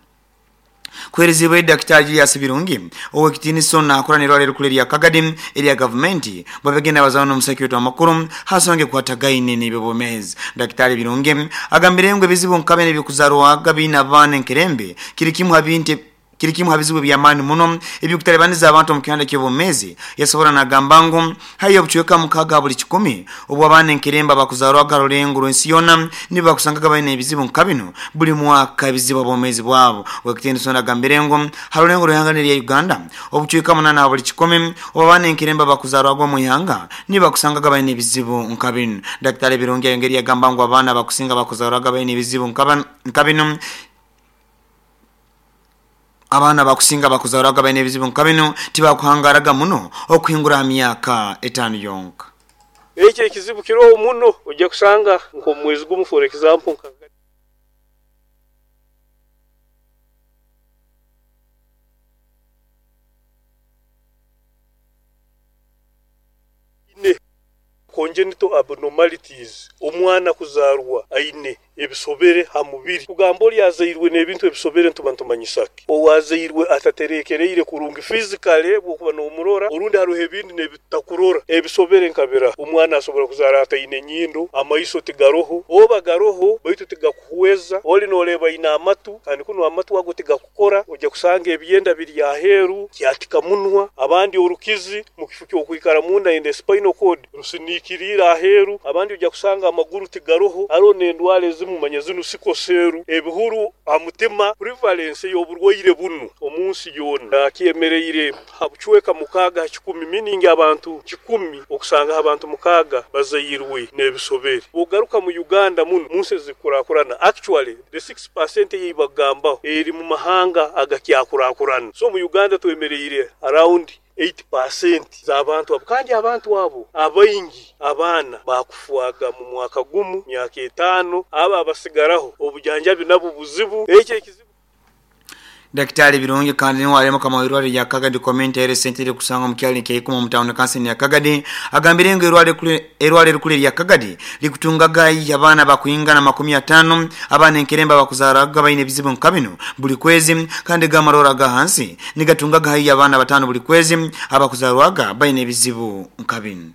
kwerezibwe Daktari Julius Birungi owekitiniso na akora nirwale rukule lya Kagadi erya government babegenda bazano n'omusaki wa makuru hasonge kwatagaine n'ebibomezi. Daktari Birungi agambire ngo ebizibu nkabene bikuzarwa gabina bane nkerembe kiri kimwe habinte kiri kimwe habizibu bya mani muno ebikutalebaniza abantu mu kihanda ky'obumezi yasobora nagambango hayo buchweka mukaga buli kikumi obwo abane nkeremba bakuzarwa garulengo rwensiyona niba kusangaga baine ebizibu nkabino buli mwaka ebizibu obumezi bwabo wekitendo nagambirengo harulengo ruhanga lya Uganda obuchweka munana buli kikumi obwo abane nkeremba bakuzarwa mu ihanga niba kusangaga baine ebizibu nkabino. Daktari Birungi yongeri yagambango abana bakusinga bakuzarwa baine ebizibu nkabino abana bakusinga bakuzarwaga baine ebizibu nkabino tibakuhangaraga muno okuhingura myaka etano yonka. Ekyo ekizibu kiroho muno ojja kusanga nk'omwezi gumu, for example, congenital abnormalities, omwana kuzarwa aine ebisobere ha mubiri kugamba oli azairwe n'ebintu ebisobere ntubantumanyisaki owazairwe ataterekereire kurungi physically bwokuba n'omurora orundi haruho ebindi n'ebitakurora ebisobere nkabira omwana asobora kuzara ataine nyindo amaiso tigaroho oba garoho baitu tigakuhweza oli noleba ina amatu kandi kuno amatu ago tigakukora ojja kusanga ebyenda biri aheru kyatika munwa abandi orukizi mu kifu kyokwikara munda ende spinal cord rusinikirira aheru abandi ojja kusanga amaguru tigaroho aro n'endwara mumanya zinu sikoseru ebihuru amutima prevalence y'oburwaire bunu omunsi yonna akyemereire habuchweka mukaga kikumi miningi abantu kikumi okusanga abantu mukaga bazayirwe n'ebisobere ogaruka mu Uganda muno munsi zikurakurana actually the six percent yibagambaho eri mu mahanga agakyakurakurana so mu Uganda twemereire around eight percent z'abantu abo kandi abantu abo abaingi abaana bakufuaga mu mwaka gumu myaka etano aba abasigaraho obujanjabi nabo buzibu ekyo ekizibu. Daktari Birungi kandi ni wale kama irwale ya Kagadi Community Health Center kusanga mkyali keikuma mutaone kanseni ya Kagadi agambire ngo irwale kule irwale kule ya Kagadi likutungaga abana bakuingana makumi atano abana enkeremba bakuzaraga baine bizibu nkabino buli kwezi kandi gamarora gahansi nigatungaga hayi abana batano buli kwezi abakuzarwaga baine bizibu nkabino.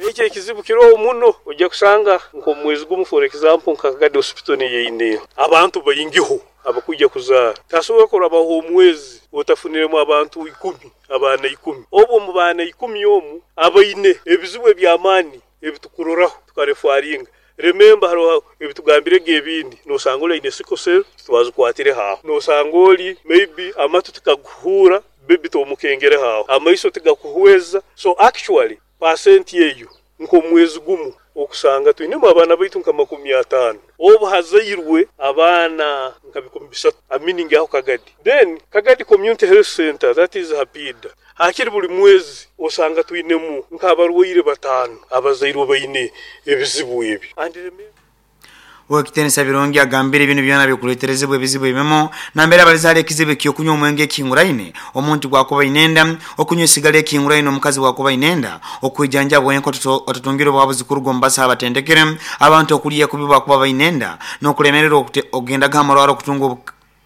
Ekyo ekizibu kiroho muno ojja kusanga nk'omwezi gumu, for example, nka Kagadi Hospital yeine abantu bayingiho abakujja kuzaara tasobola kurabaho omwezi otafuniremu abantu ikumi abaana ikumi obwo mu baana ikumi omu abaine ebizibu eby'amaani ebitukuroraho tukarefaringa. Remember haro ebitugambire gebindi nosanga oli aine sickle cell twazikwatire haho nosanga oli maybe amatu tikaguhura baby tomukengere haho amaiso tigakuhweza so actually percent yeyo nk'omwezi gumu okusanga twinemu abaana baitu nka makumi atano obu hazairwe abaana nka bikumi bisatu aminingi aho Kagadi. Then Kagadi Community Health Center, that is Hapida, hakiri buli mwezi osanga twinemu nk'abarwaire batano abazairwe baine ebizibu ebi. And remember Wekitenisa Birungi agambire ibintu byona bikuleterezebwe ebizibu ebimo nambere abalizale ekizibu kyokunywa omwenge ekinguraine omuntu gwakuba inenda okunywa esigala ekinguraine omukazi gwakuba inenda okwijanja bwenko otatungire obuhabuzi kuruga mbasa abatendekere abantu okuliya kubiba kuba bainenda n'okulemererwa okugenda gamarwaro okutunga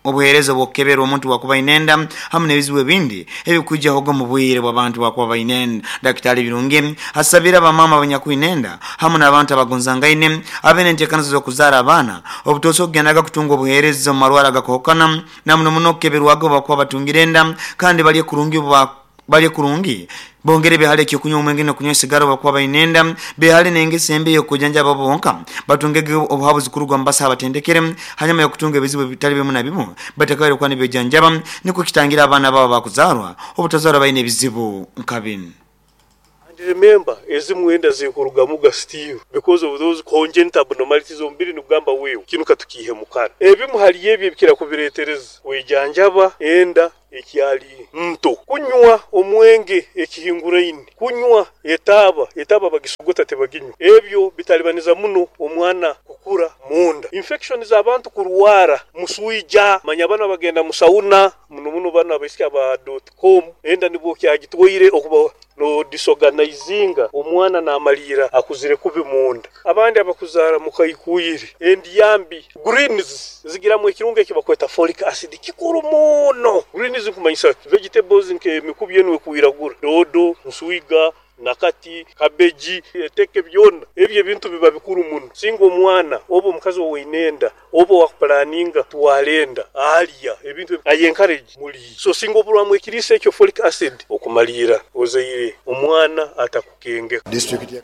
obuheereza bwokebera omuntu wakuba inenda hamwe n'ebizibu ebindi ebikujjaho mu bwire bw'abantu bakuba bainenda. Daktari Birungi asabira abamama abanyakuinenda hamwe n'abantu abagonzangaine abene enteekanizo z'okuzaara abaana obutoose okugendaga kutunga obuheereza mu marwaro agakohokana na muno muno okukeberwago bakuba batungire enda kandi balye kurungi balye kurungi bongere behale kyokunywa omwenge n'okunywa esigara bakuba bainenda behale n'engeso embi y'okujanjaba bonka batungege obuhabuzi kuruga mbasa abatendekere hanyuma y'okutunga ebizibu ebitali bimu na bimu batakabere kuba nibejanjaba niko kitangira abaana babo bakuzarwa obutazarwa baine ebizibu nkabini. And remember, ezimwe enda zikurugamu ga still because of those congenital abnormalities omubiri nigugamba wewe kinu katukihe mukara. Ebimu hali ebyo ebikira kubireetereza wejanjaba enda ekyali nto, kunywa omwenge ekihinguraine, kunywa etaaba etaaba bagisogota tebaginywa. Ebyo bitalibaniza muno omwana kukura munda. Infection z'abantu kurwara muswija, manya bana bagenda musauna muno muno bana baisiki aba dot com enda nibwo kyagitwaire okuba no disorganizinga omwana namalira akuzire kubi munda. Abandi abakuzara mukayikuyire endiyambi greens zigiramu ekirungo ekibakweta folic acid kikuru muno. Greens kumanyisa vegetables nke emikubi yenwe kuiragura dodo, nswiga, nakati, kabeji, eteke byona ebyo ebintu biba bikuru muno. Singa omwana oba omukazi oweinenda oba wakuplaninga twalenda alya ebintu I encourage muli. So singa obulwamu ekirisa ekyo folic acid okumalira ozaire omwana atakukenge. District ya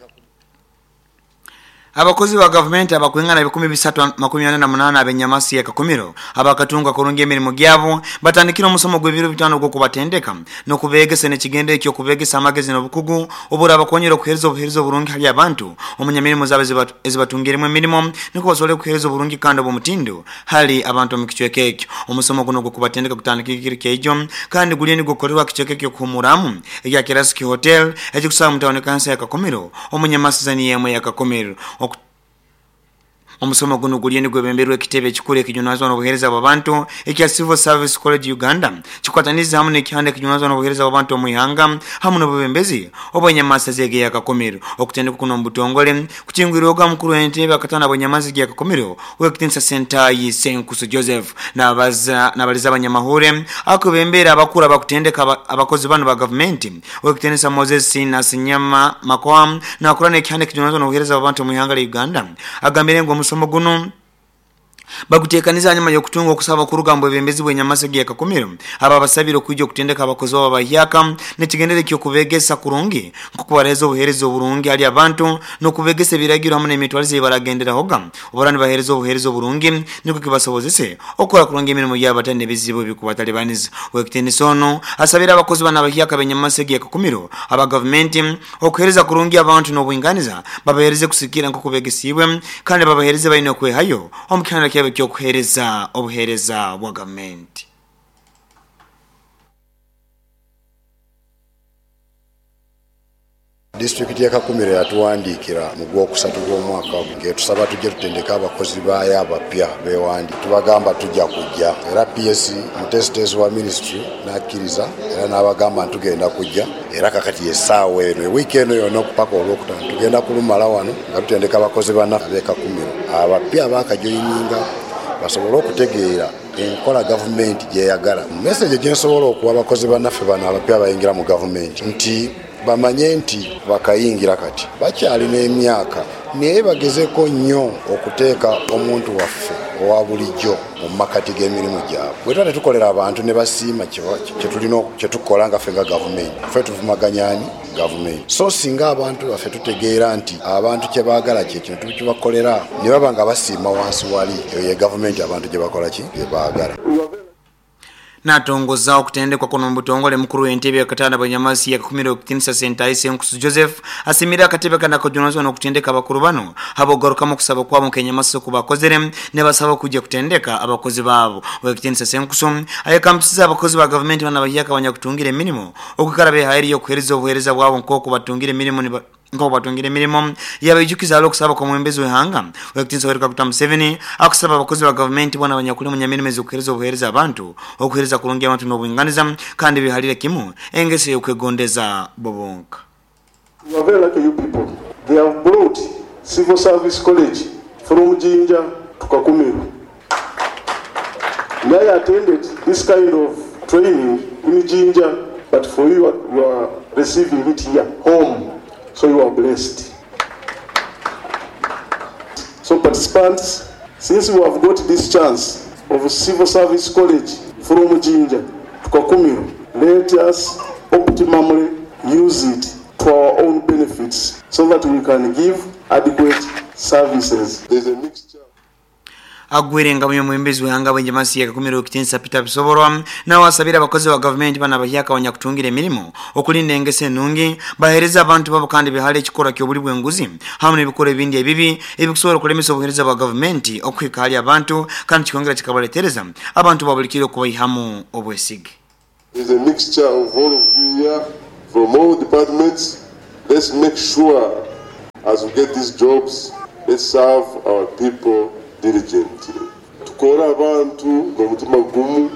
Abakozi ba gavumenti abakwingana ebikumi bisatu makumi ana na munana abenyamasi ya Kakumiro abakatunga kurungi emirimu gyabo batandikira omusomo gw'ebiro bitano gw'okubatendeka n'okubegesa n'ekigendo ekyo kubegesa amagezi n'obukugu obura abakonyera okuhereza obuhereza oburungi hali abantu omunyamirimo zaabo ezibatungiremu emirimo niko basobole okuhereza oburungi kandi obw'omutindo hali abantu omu kicweka ekyo. Omusomo guno gw'okubatendeka gutandikira ekiro kyaijo kandi guriyo nigukorerwa kicweka ekyo kuhumuramu ekya Kirasiki Hotel ekikusaba mu tawuni kansa ya Kakumiro omunyamasi zani yemwe ya Kakumiro. Omusomo guno guliyo nigwebemberwa ekitebe ekikuru ekijunanizibwa n'obuheereza bw'abantu ekya Civil Service College Uganda kikwataniza hamu n'ekihanda ekijunanizibwa n'obuheereza bw'abantu omu ihanga hamu n'obubembezi obw'enyamasi z'ege ya Kakumiro. Okutendeka kuno mu butongole kukingwirwaga mukuru w'entebe akatana bw'enyamasi ya Kakumiro Owekitinisa Sentayi Senkusu Joseph n'abaza n'abaliza abanyamahure akubembera abakuru abakutendeka abakozi bano ba gavumenti Owekitinisa Moses Nasinyama Makoa n'akorana ekihanda ekijunanizibwa n'obuheereza bw'abantu omu ihanga lya Uganda agambire ngu omusomo guno baguteekaniza nyuma y'okutunga okusaba kuruga mu bwebembezi bw'enyamasi ya Kakumiro aba basabire okwijja okutendeka abakozi babo abahyaka n'ekigendere ky'okubegesa kurungi nk'okubareeza obuheereza oburungi hali abantu n'okubegesa ebiragiro hamwe n'emitwarize ebaragenderahoga obura nibaheereza obuheereza oburungi niko kibasobozese okukora kurungi emirimu yabo batari n'ebizibu ebikubatalibaniza. Owekitinisa ono asabire abakozi bano abahyaka b'enyamasi ya Kakumiro aba gavumenti okuheereza kurungi abantu n'obwinganiza babaheereze kusikira nk'okubegesiibwe kandi babaheereze baine okwehayo omu kihanda kyabo ekyokuheereza obuheereza bwa gavumenti. Disitulikiti ya Kakumiro yatuwandiikira mu gwokusatu gw'omwaka ng'etusaba tujje tutendeke abakozi baayo abapya bewandi tubagamba tujja kujja era P S mutesitesi wa ministry n'akkiriza era n'abagamba ntugenda kujja era kakati essaawa eno ewiiki eno yonna okupaka olwokutaano tugenda kulumala wano nga tutendeka abakozi bannaffe ab'e Kakumiro abapya abaakajoyininga basobole okutegeera enkola gavumenti gy'eyagala. Message gye nsobola okuwa abakozi bannaffe bano abapya abayingira mu gavumenti nti bamanye nti bakayingira kati bakyalina emyaka naye bagezeko nnyo okuteeka omuntu waffe owa bulijjo mu makati g'emirimu gyabwe. Bwe tuba tetukolera abantu ne basiima kye tulina kye tukola nga ffe nga gavumenti, ffe tuvumaganya ani? Gavumenti. So singa abantu baffe tutegeera nti abantu kye baagala kye kino tukibakolera ne baba nga basiima wansi wali, eyo ye gavumenti abantu gye bakola ki? Gye baagala. Natongoza okutendekwa kuno mu butongole mukuru w'entebe yakatana bw'enyamasi ya Kakumiro Owekitinisa Sentayi Senkusu Joseph asimira akatebe kana kajunanizibwa n'okutendeka abakuru bano abogarukamu okusaba kwabo nk'enyamasi okubakozere ne basaba okujja kutendeka abakozi baabo. Owekitinisa Senkusu ayekampisiza abakozi ba gavumenti bano abahyaka abanyakutungira emirimu okwikara behairiyo okuheereza obuheereza bwabo nk'oku batungira emirimu nk'oku batungira emirimu yabayijukiza ali okusaba kw'omwembezi w'ihanga Owekitinisa Yoweri Kaguta Museveni akusaba abakozi ba gavumenti bona abanyakuli mu nyamirimo ez'okuheereza obuheereza abantu okuheereza kurungi abantu n'obwinganiza kandi bihalire kimu engeso y'okwegondeza bobonka. We are very lucky you people. They have brought Civil Service College from Jinja to Kakumiro. I attended this kind of training in Jinja, but for you, you are receiving it here, home. So you are blessed. So participants, since we have got this chance of Civil Service College from Jinja to Kakumiro, let us optimally use it to our own benefits so that we can give adequate services. There's a mixture. Agwire nga omwembezi w'ihanga bw'enjamasi yakakumira okutinsa Peter Bisoborwa nawe asabira abakozi ba gavumenti bana bahyaka abanyakutungira emirimu okulinda engeso enungi bahereza abantu babo kandi bihale ekikorwa ky'obuli bw'enguzi hamwe n'ebikorwa ebindi ebibi ebikusobola okulemesa obuhereza bwa gavumenti okuhika hali abantu kandi kikongera kikabaletereza abantu babulikire okubaihamu obwesige. Is a mixture of all of you here from all departments. Let's make sure as we get these jobs, let's serve our people diligently. Tukore abantu n'omutima gumu,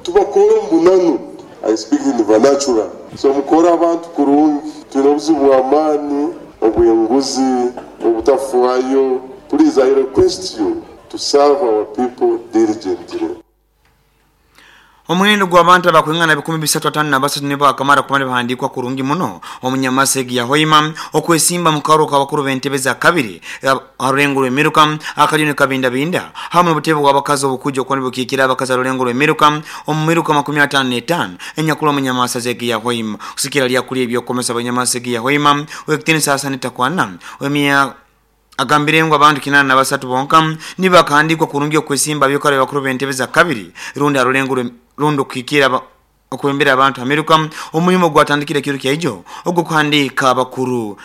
tubakore omu bunanu. I speak in the vernacular. So mukore abantu kurungi, twine obuzibu bw'amaani, obw'enguzi, obutafuayo. Please, I request you to serve our people diligently. Omuhendo gw'abantu abakwingana bikumi bisatu atano na basatu nibo akamara kumara bahandikwa kurungi muno omunyamasegi ya Hoima okwesimba mu karo kabakuru b'entebe za kabiri arulengo rw'emiruka akajuni kabinda binda hamwe n'obutebe bw'abakazi obukuja okwo nibukikira abakazi arulengo rw'emiruka omu miruka makumi atano n'etaano enyakulu omunyamasegi ya Hoima kusikira lyakuli ebyokomesa abanyamasegi ya Hoima wekitini sasa nitakwana wemia agambire ngo abantu kinana na basatu bonka nibakandikwa kurungi okwesimba byokare bakuru b'entebe za kabiri rundi arulengo rundo kikira okwembera abantu Amerika omulimo gwatandikire kiro kyaijo ogwo kuhandika abakuru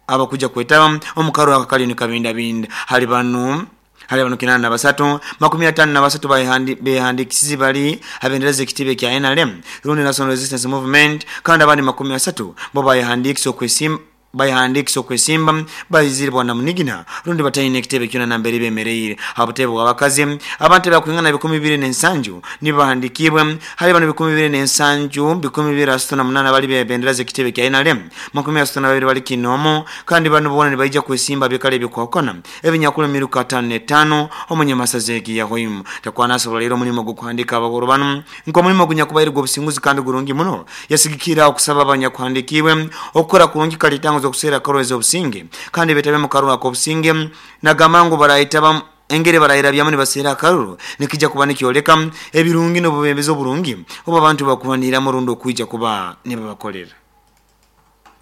abakuja kwetaba omukaro akakali ni kabinda binda hali banu hali banu kinana na basatu makumi atano na basatu bayihandi behandikisizi bali abendereza ekitibe kya N R M rundi National Resistance Movement kandi abandi makumi asatu bo bayihandikisa okwesimba bayihandikisa okwesimba bayizire bwana munigina rundi batayine ekitebe kyona nambere bemereire abutebe bw'abakazi abantu bakwingana bikumi bibiri n'ensanju nibahandikibwe hali bano bikumi bibiri n'ensanju bikumi bibiri asatu na munana bali bebenderaza ekitebe kya N R M makumi asatu na babiri bali kinomo kandi bano bona nibaija kwesimba bikale bikwakona ebinyakulu miruka atano n'etaano omunyamasazegi ya Hoima takwana asobola leero omulimu gw'okuhandika abagoro bano nk'omulimu gunyakubaire gw'obusinguzi kandi gurungi muno yasigikira okusaba abanyakuhandikibwe okukora kurungi kalitango okusera karweza obusinge kandi betabe mu karura ko obusinge nagamango barayitaba engere barayira byamu nibasera akaruru nikija kuba nikyoleka ebirungi n'obubembezi oburungi oba abantu bakubanira mu rundo okuija kuba nibabakolera.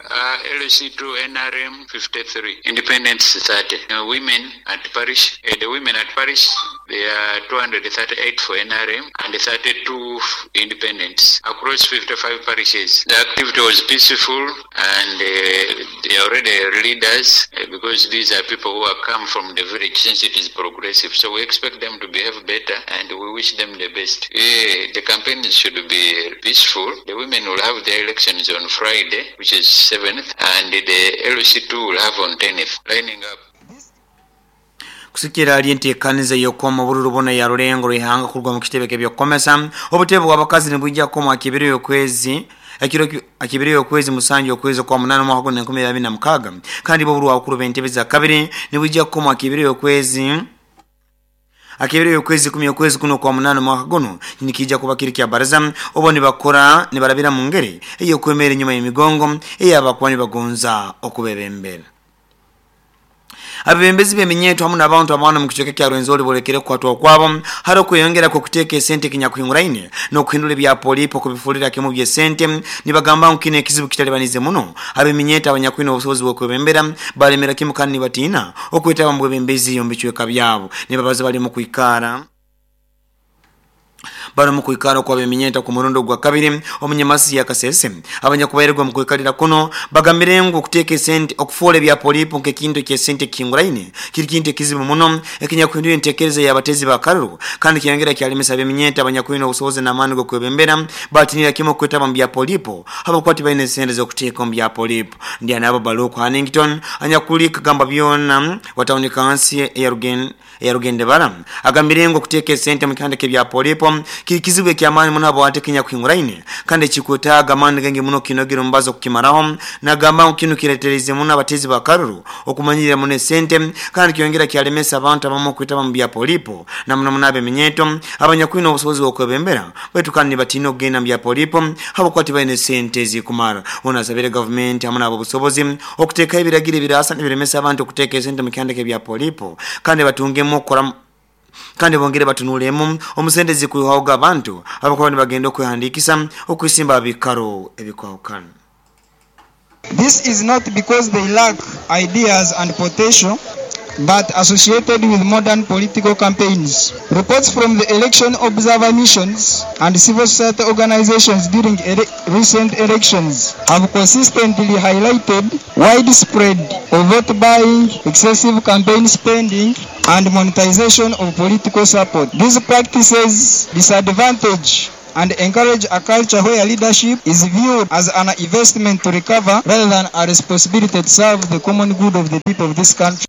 Uh, L C two N R M fifty-three, Independence thirty. Uh, women at parish, uh, the women at parish, they are two hundred thirty-eight for N R M and thirty-two independents across fifty-five parishes. The activity was peaceful and uh, they are already leaders uh, because these are people who have come from the village since it is progressive. So we expect them to behave better and we wish them the best. Uh, the campaigns should be peaceful. The women will have their elections on Friday, which is seventh, and the L C two will have on tenth, lining up. Kusikira ali enteekaniza y'okukoma obululu bona ya Rulengo rw'ihanga kurwa mu kitebe ky'ebyokukomesa obutebe bw'abakazi nibwijja kukoma akibiri y'okwezi ekiro akibiri y'okwezi musanju okwezi kwa munana omwaka gw'enkumi enkumi abiri na mukaaga kandi bo obululu abakuru b'entebe za kabiri nibwijja kukoma akibiri y'okwezi akibiri y'okwezi kumi okwezi kuno kwa munana omwaka guno nikijja kuba kiri kya baraza obo nibakora nibarabira mu ngeri ey'okwemera enyuma y'emigongo ey'abakuba nibagonza okubebembera. Abebembezi b'eminyeeto hamu n'abantu abana mu kicweka kya Rwenzori bolekere kukwatwa kwabo hari okweyongera kw'okuteeka esente kinyakuhinguraine n'okuhindura ebya polipo okubifulira kimu by'esente nibagamba ngu kino ekizibu kitalibanize muno ab'eminyeeto abanyakwine obusobozi bw'okwebembera balemera kimu kandi nibatiina okwetaba mu bwebembezi omu bicweka byabo nibabaza bali mu kwikara bari mu kwikara kwa beminyeta ku murundo gwa kabiri omunyamasi ya Kasese abanyakubairwa mu kwikalira kuno bagambire ngu okuteeka esente okufuula ebya polipo nk'ekintu ky'esente kinguraine kiri kintu ekizibu muno ekinyakuhindura enteekereza y'abatezi ba karuru kandi kyongera kyalemesa ab'eminyeta abanyakwine obusobozi n'amaani g'okwebembera batinira kimu okwetaba mu bya polipo abakwati balina esente z'okuteeka omu bya polipo. Ndi anabo Baluku Hannington anyakuli kagamba byona wa tawuni kansi eya Rugendebara agambire ngu okuteeka esente mu kihanda ky'ebya polipo kikizibu ekyamaani muno abo atekenya kuhinguraine kandi kikwetaaga amaani gange muno kinogera omubazo kukimaraho nagamba ngu kino kireetereze muno abatezi ba karuru okumanyirira muno esente kandi kyongera kyalemesa abantu abamu okwetaba mu bya polipo na muno muno ab'eminyeeto abanyakwine obusobozi bw'okwebembera baitu kandi nibatiina okugenda mu bya polipo habwokuba tibalina esente ezikumara. Ono asabire gavumenti hamu n'abo obusobozi okuteekaho ebiragiro ebiraasa nibiremesa abantu okuteeka esente mu kihanda ky'ebya polipo kandi batungemu okukora kandi bongere batunulemu omusente zikuhaoga abantu abakuba nibagenda okwehandikisa okwisimba bikaro ebikwahukana. This is not because they lack ideas and potential, but associated with modern political campaigns. Reports from the election observer missions and civil society organizations during ele- recent elections have consistently highlighted widespread vote buying, excessive campaign spending, and monetization of political support. These practices disadvantage and encourage a culture where leadership is viewed as an investment to recover rather than a responsibility to serve the common good of the people of this country.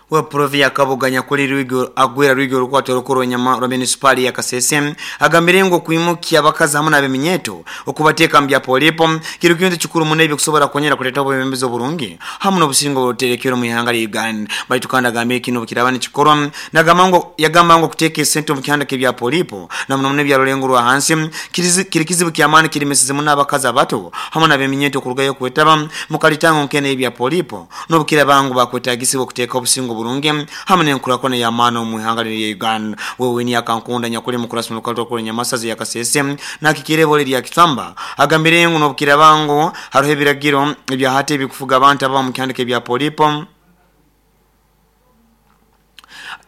We provi ya Kabuganya kuli Rwigo agwera Rwigo rukwato rukuru nyama rwa municipali ya Kasese agambire ngo kuimukia abakazi hamwe n'abeminyeto okubateka mbya polipo kiri kintu kikuru munebyo kusobora konyera kuleta obwebembezo burungi hamwe n'obusingo buterekero mu ihanga lya Uganda baitu kandi agambire kino bukiraba nikikorwa nagamba ngo yagamba ngo kuteka esente mu kihanda kebya polipo na muno munebya rulengo rwa hansi kiri kizibu kyamani kiri mesize muno abakazi abato hamwe n'abeminyeto kurugayo kwetaba mukalitango nkene ebya polipo n'obukira bangu bakwetagisibwa kuteka obusingo burungi hamwe n'enkulakona y'amaani mu ihanga lya Uganda. Wewe ni akankunda nyakuli mukurasi mu lukato kuri nyamasazi ya Kasese nakikirebo lya Kitamba agambire ngo n'obukira bangu hariho ebiragiro ebya hate ebikufuga abantu aba mu kyandike ebya polipo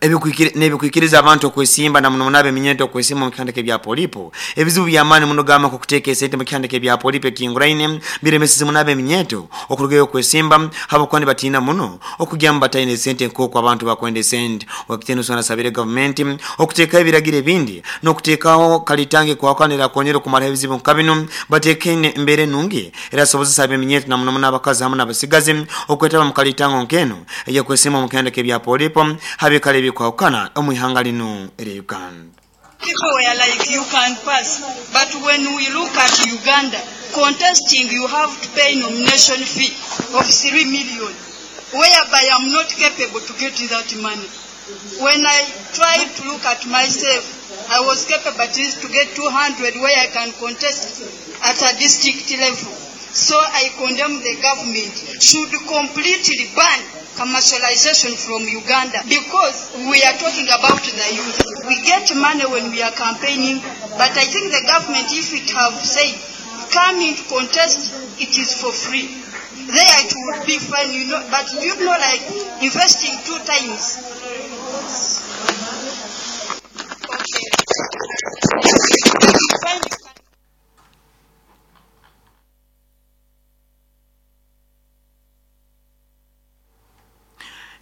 ebikwikiriza abantu okwesimba na muno munabe minyeto okwesimba mu kyandike bya polipo ebizibu bya maani muno gama ku kuteeka esente mu kyandike bya polipo ekinguraine biremesize munabe minyeto okurugayo okwesimba habokwani batina muno okugamba bataine esente nk'oku abantu bakwenda esente. Wakitendo sana sabire government okuteeka ebiragiro ebindi n'okuteekaho kalitange kwakanira konyera okumala ebizibu nka bino bateeke embeera ennungi era sobozesa abeminyeto na muno muno abakazi hamwe n'abasigazi okwetaba mu kalitango nk'eno ey'okwesimba mu kyandike bya polipo habikale bikwawukana omu ihanga lino erya Uganda. People were like, you can pass, but when we look at Uganda, contesting, you have to pay nomination fee of three million, whereby I'm not capable to get that money. When I tried to look at myself, I was capable at least to get two hundred where I can contest at a district level. So I condemn the government should completely ban commercialization from Uganda, because we are talking about the youth. We get money when we are campaigning, but I think the government, if it have said, come in to contest, it is for free. There it would be fine, you know, but you know, like investing two times. Okay.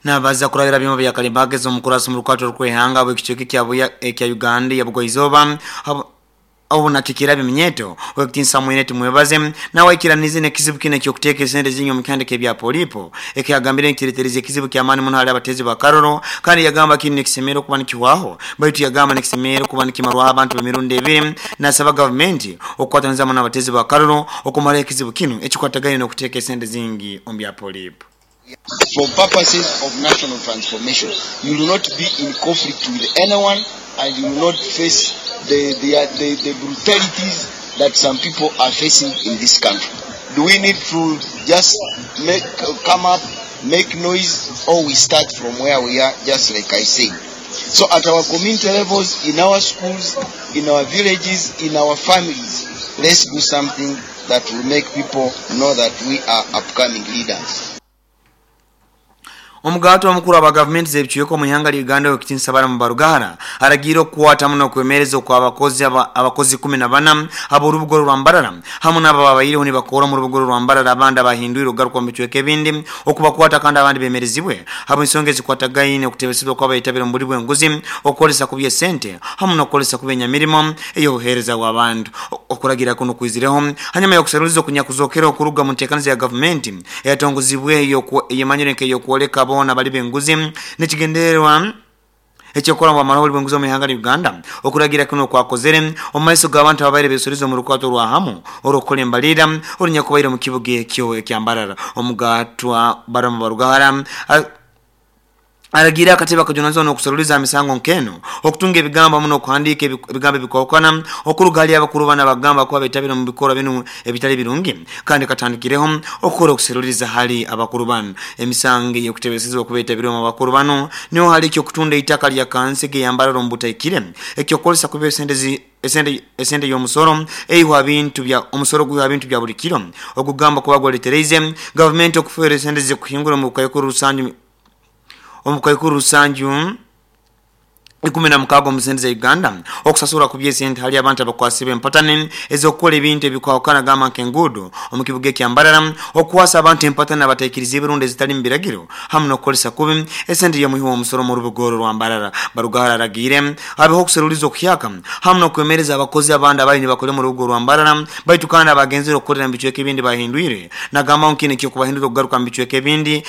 Nabaza kurabira bimwe bya kalimbagezo omukurasi mu rukato rw'ihanga bw'ekichweke kya buya ekya Uganda ya Bugwaizoba obuna kikira biminyeto wekitinsa mwene tumwebaze nawe ikiranize nekizibu kine kyo kuteka esente zinyo mukandike bya polipo ekiyagambire nkiretereze ekizibu kya mani muno hali abatezi ba Karoro kandi yagamba kini nekisemero kuba nikiwaho baitu yagamba nekisemero kuba nikimarwa abantu bemirundi ebiri nasaba government okwatanza muno abatezi ba Karoro okumala ekizibu kino ekikwataganye n'okuteka esente zingi ombya polipo. For purposes of national transformation, you will not be in conflict with anyone and you will not face the, the, the, the brutalities that some people are facing in this country. Do we need to just make, come up, make noise, or we start from where we are, just like I said? So at our community levels, in our schools, in our villages, in our families, let's do something that will make people know that we are upcoming leaders. Omugato omukuru aba government z'ebichweko mu ihanga lya Uganda okitinsa bara mu Barugahara aragira okukwata muno kwemereza kwa abakozi abakozi kumi na bana abo urubugo rwa Mbarara hamwe n'aba babayireho nibakora mu rubugo rwa Mbarara abandi abahindwira ugaruka mu bichweko ebindi okubakwata kandi abandi bemerezibwe abo ensonga ezikwatagaine okutebesibwa kw'abayitabira mu buli bw'enguzi okukolesa ku by'esente hamwe n'okukolesa ku byenyamirimo ey'obuheereza bw'abantu okuragira kuno kwizireho hanyuma y'okusaruliza okunyakuzokera okuruga mu nteekaniza ya government eyatongozibwe eyemanyire nk'ey'okwoleka bona bali benguzi nekigendererwa ekyokola mu amahoro bwenguzi mu ihanga lya Uganda okuragira kuno kwakozere omaiso g'abantu ababaire besurizo mu rukwato rwa hamu orokola embalira orunyakubaire mu kibuga ekyo ekyambarara omugatwa Balaam Barugahara aragira akateba kajunazo n'okusaruliza emisango nkeno okutunga ebigambo muno okuhandiika ebigambo ebikwawukana okuruga hali abakuru bana bagamba kuba betabira mu bikorwa bino ebitali birungi kandi katandikireho okukola okusaruliza hali abakuru bano emisango ey'okutebesezebwa okubetabira mu bakuru bano niho hali ekyokutunda eitaka lya kansi geyambarara omu butaikire ekyokukolesa kuba esente esente esente y'omusoro eihwa bintu bya omusoro gwihwa bintu bya buli kiro okugamba kuba gwaletereize gavumenti okufuera esente zikuhingura mu bukayukuru rusange Omukaikuru rusanju ikumi na mukago omu sente za Uganda okusasura ku byesente hali abantu abakwasibwa empatane ez'okukola ebintu ebikwawukana, gamba nk'enguudo omu kibuga ekyambarara, okukwasa abantu empatane abateekiriza ebirundu ezitali mu biragiro, hamu n'okukolesa kubi esente y'omuhi w'omusoro mu rubugoro rwa Mbarara. Barugahara aragiire habeho okuseruliza okuhyaka hamu n'okwemereza abakozi abandi abali nibakora mu rubuga rwa Mbarara, baitu kandi abagenzere okukorera mu bicweka ebindi bahindwire, nagamba ngu kinu ekyokubahindura okugaruka mu bicweka ebindi.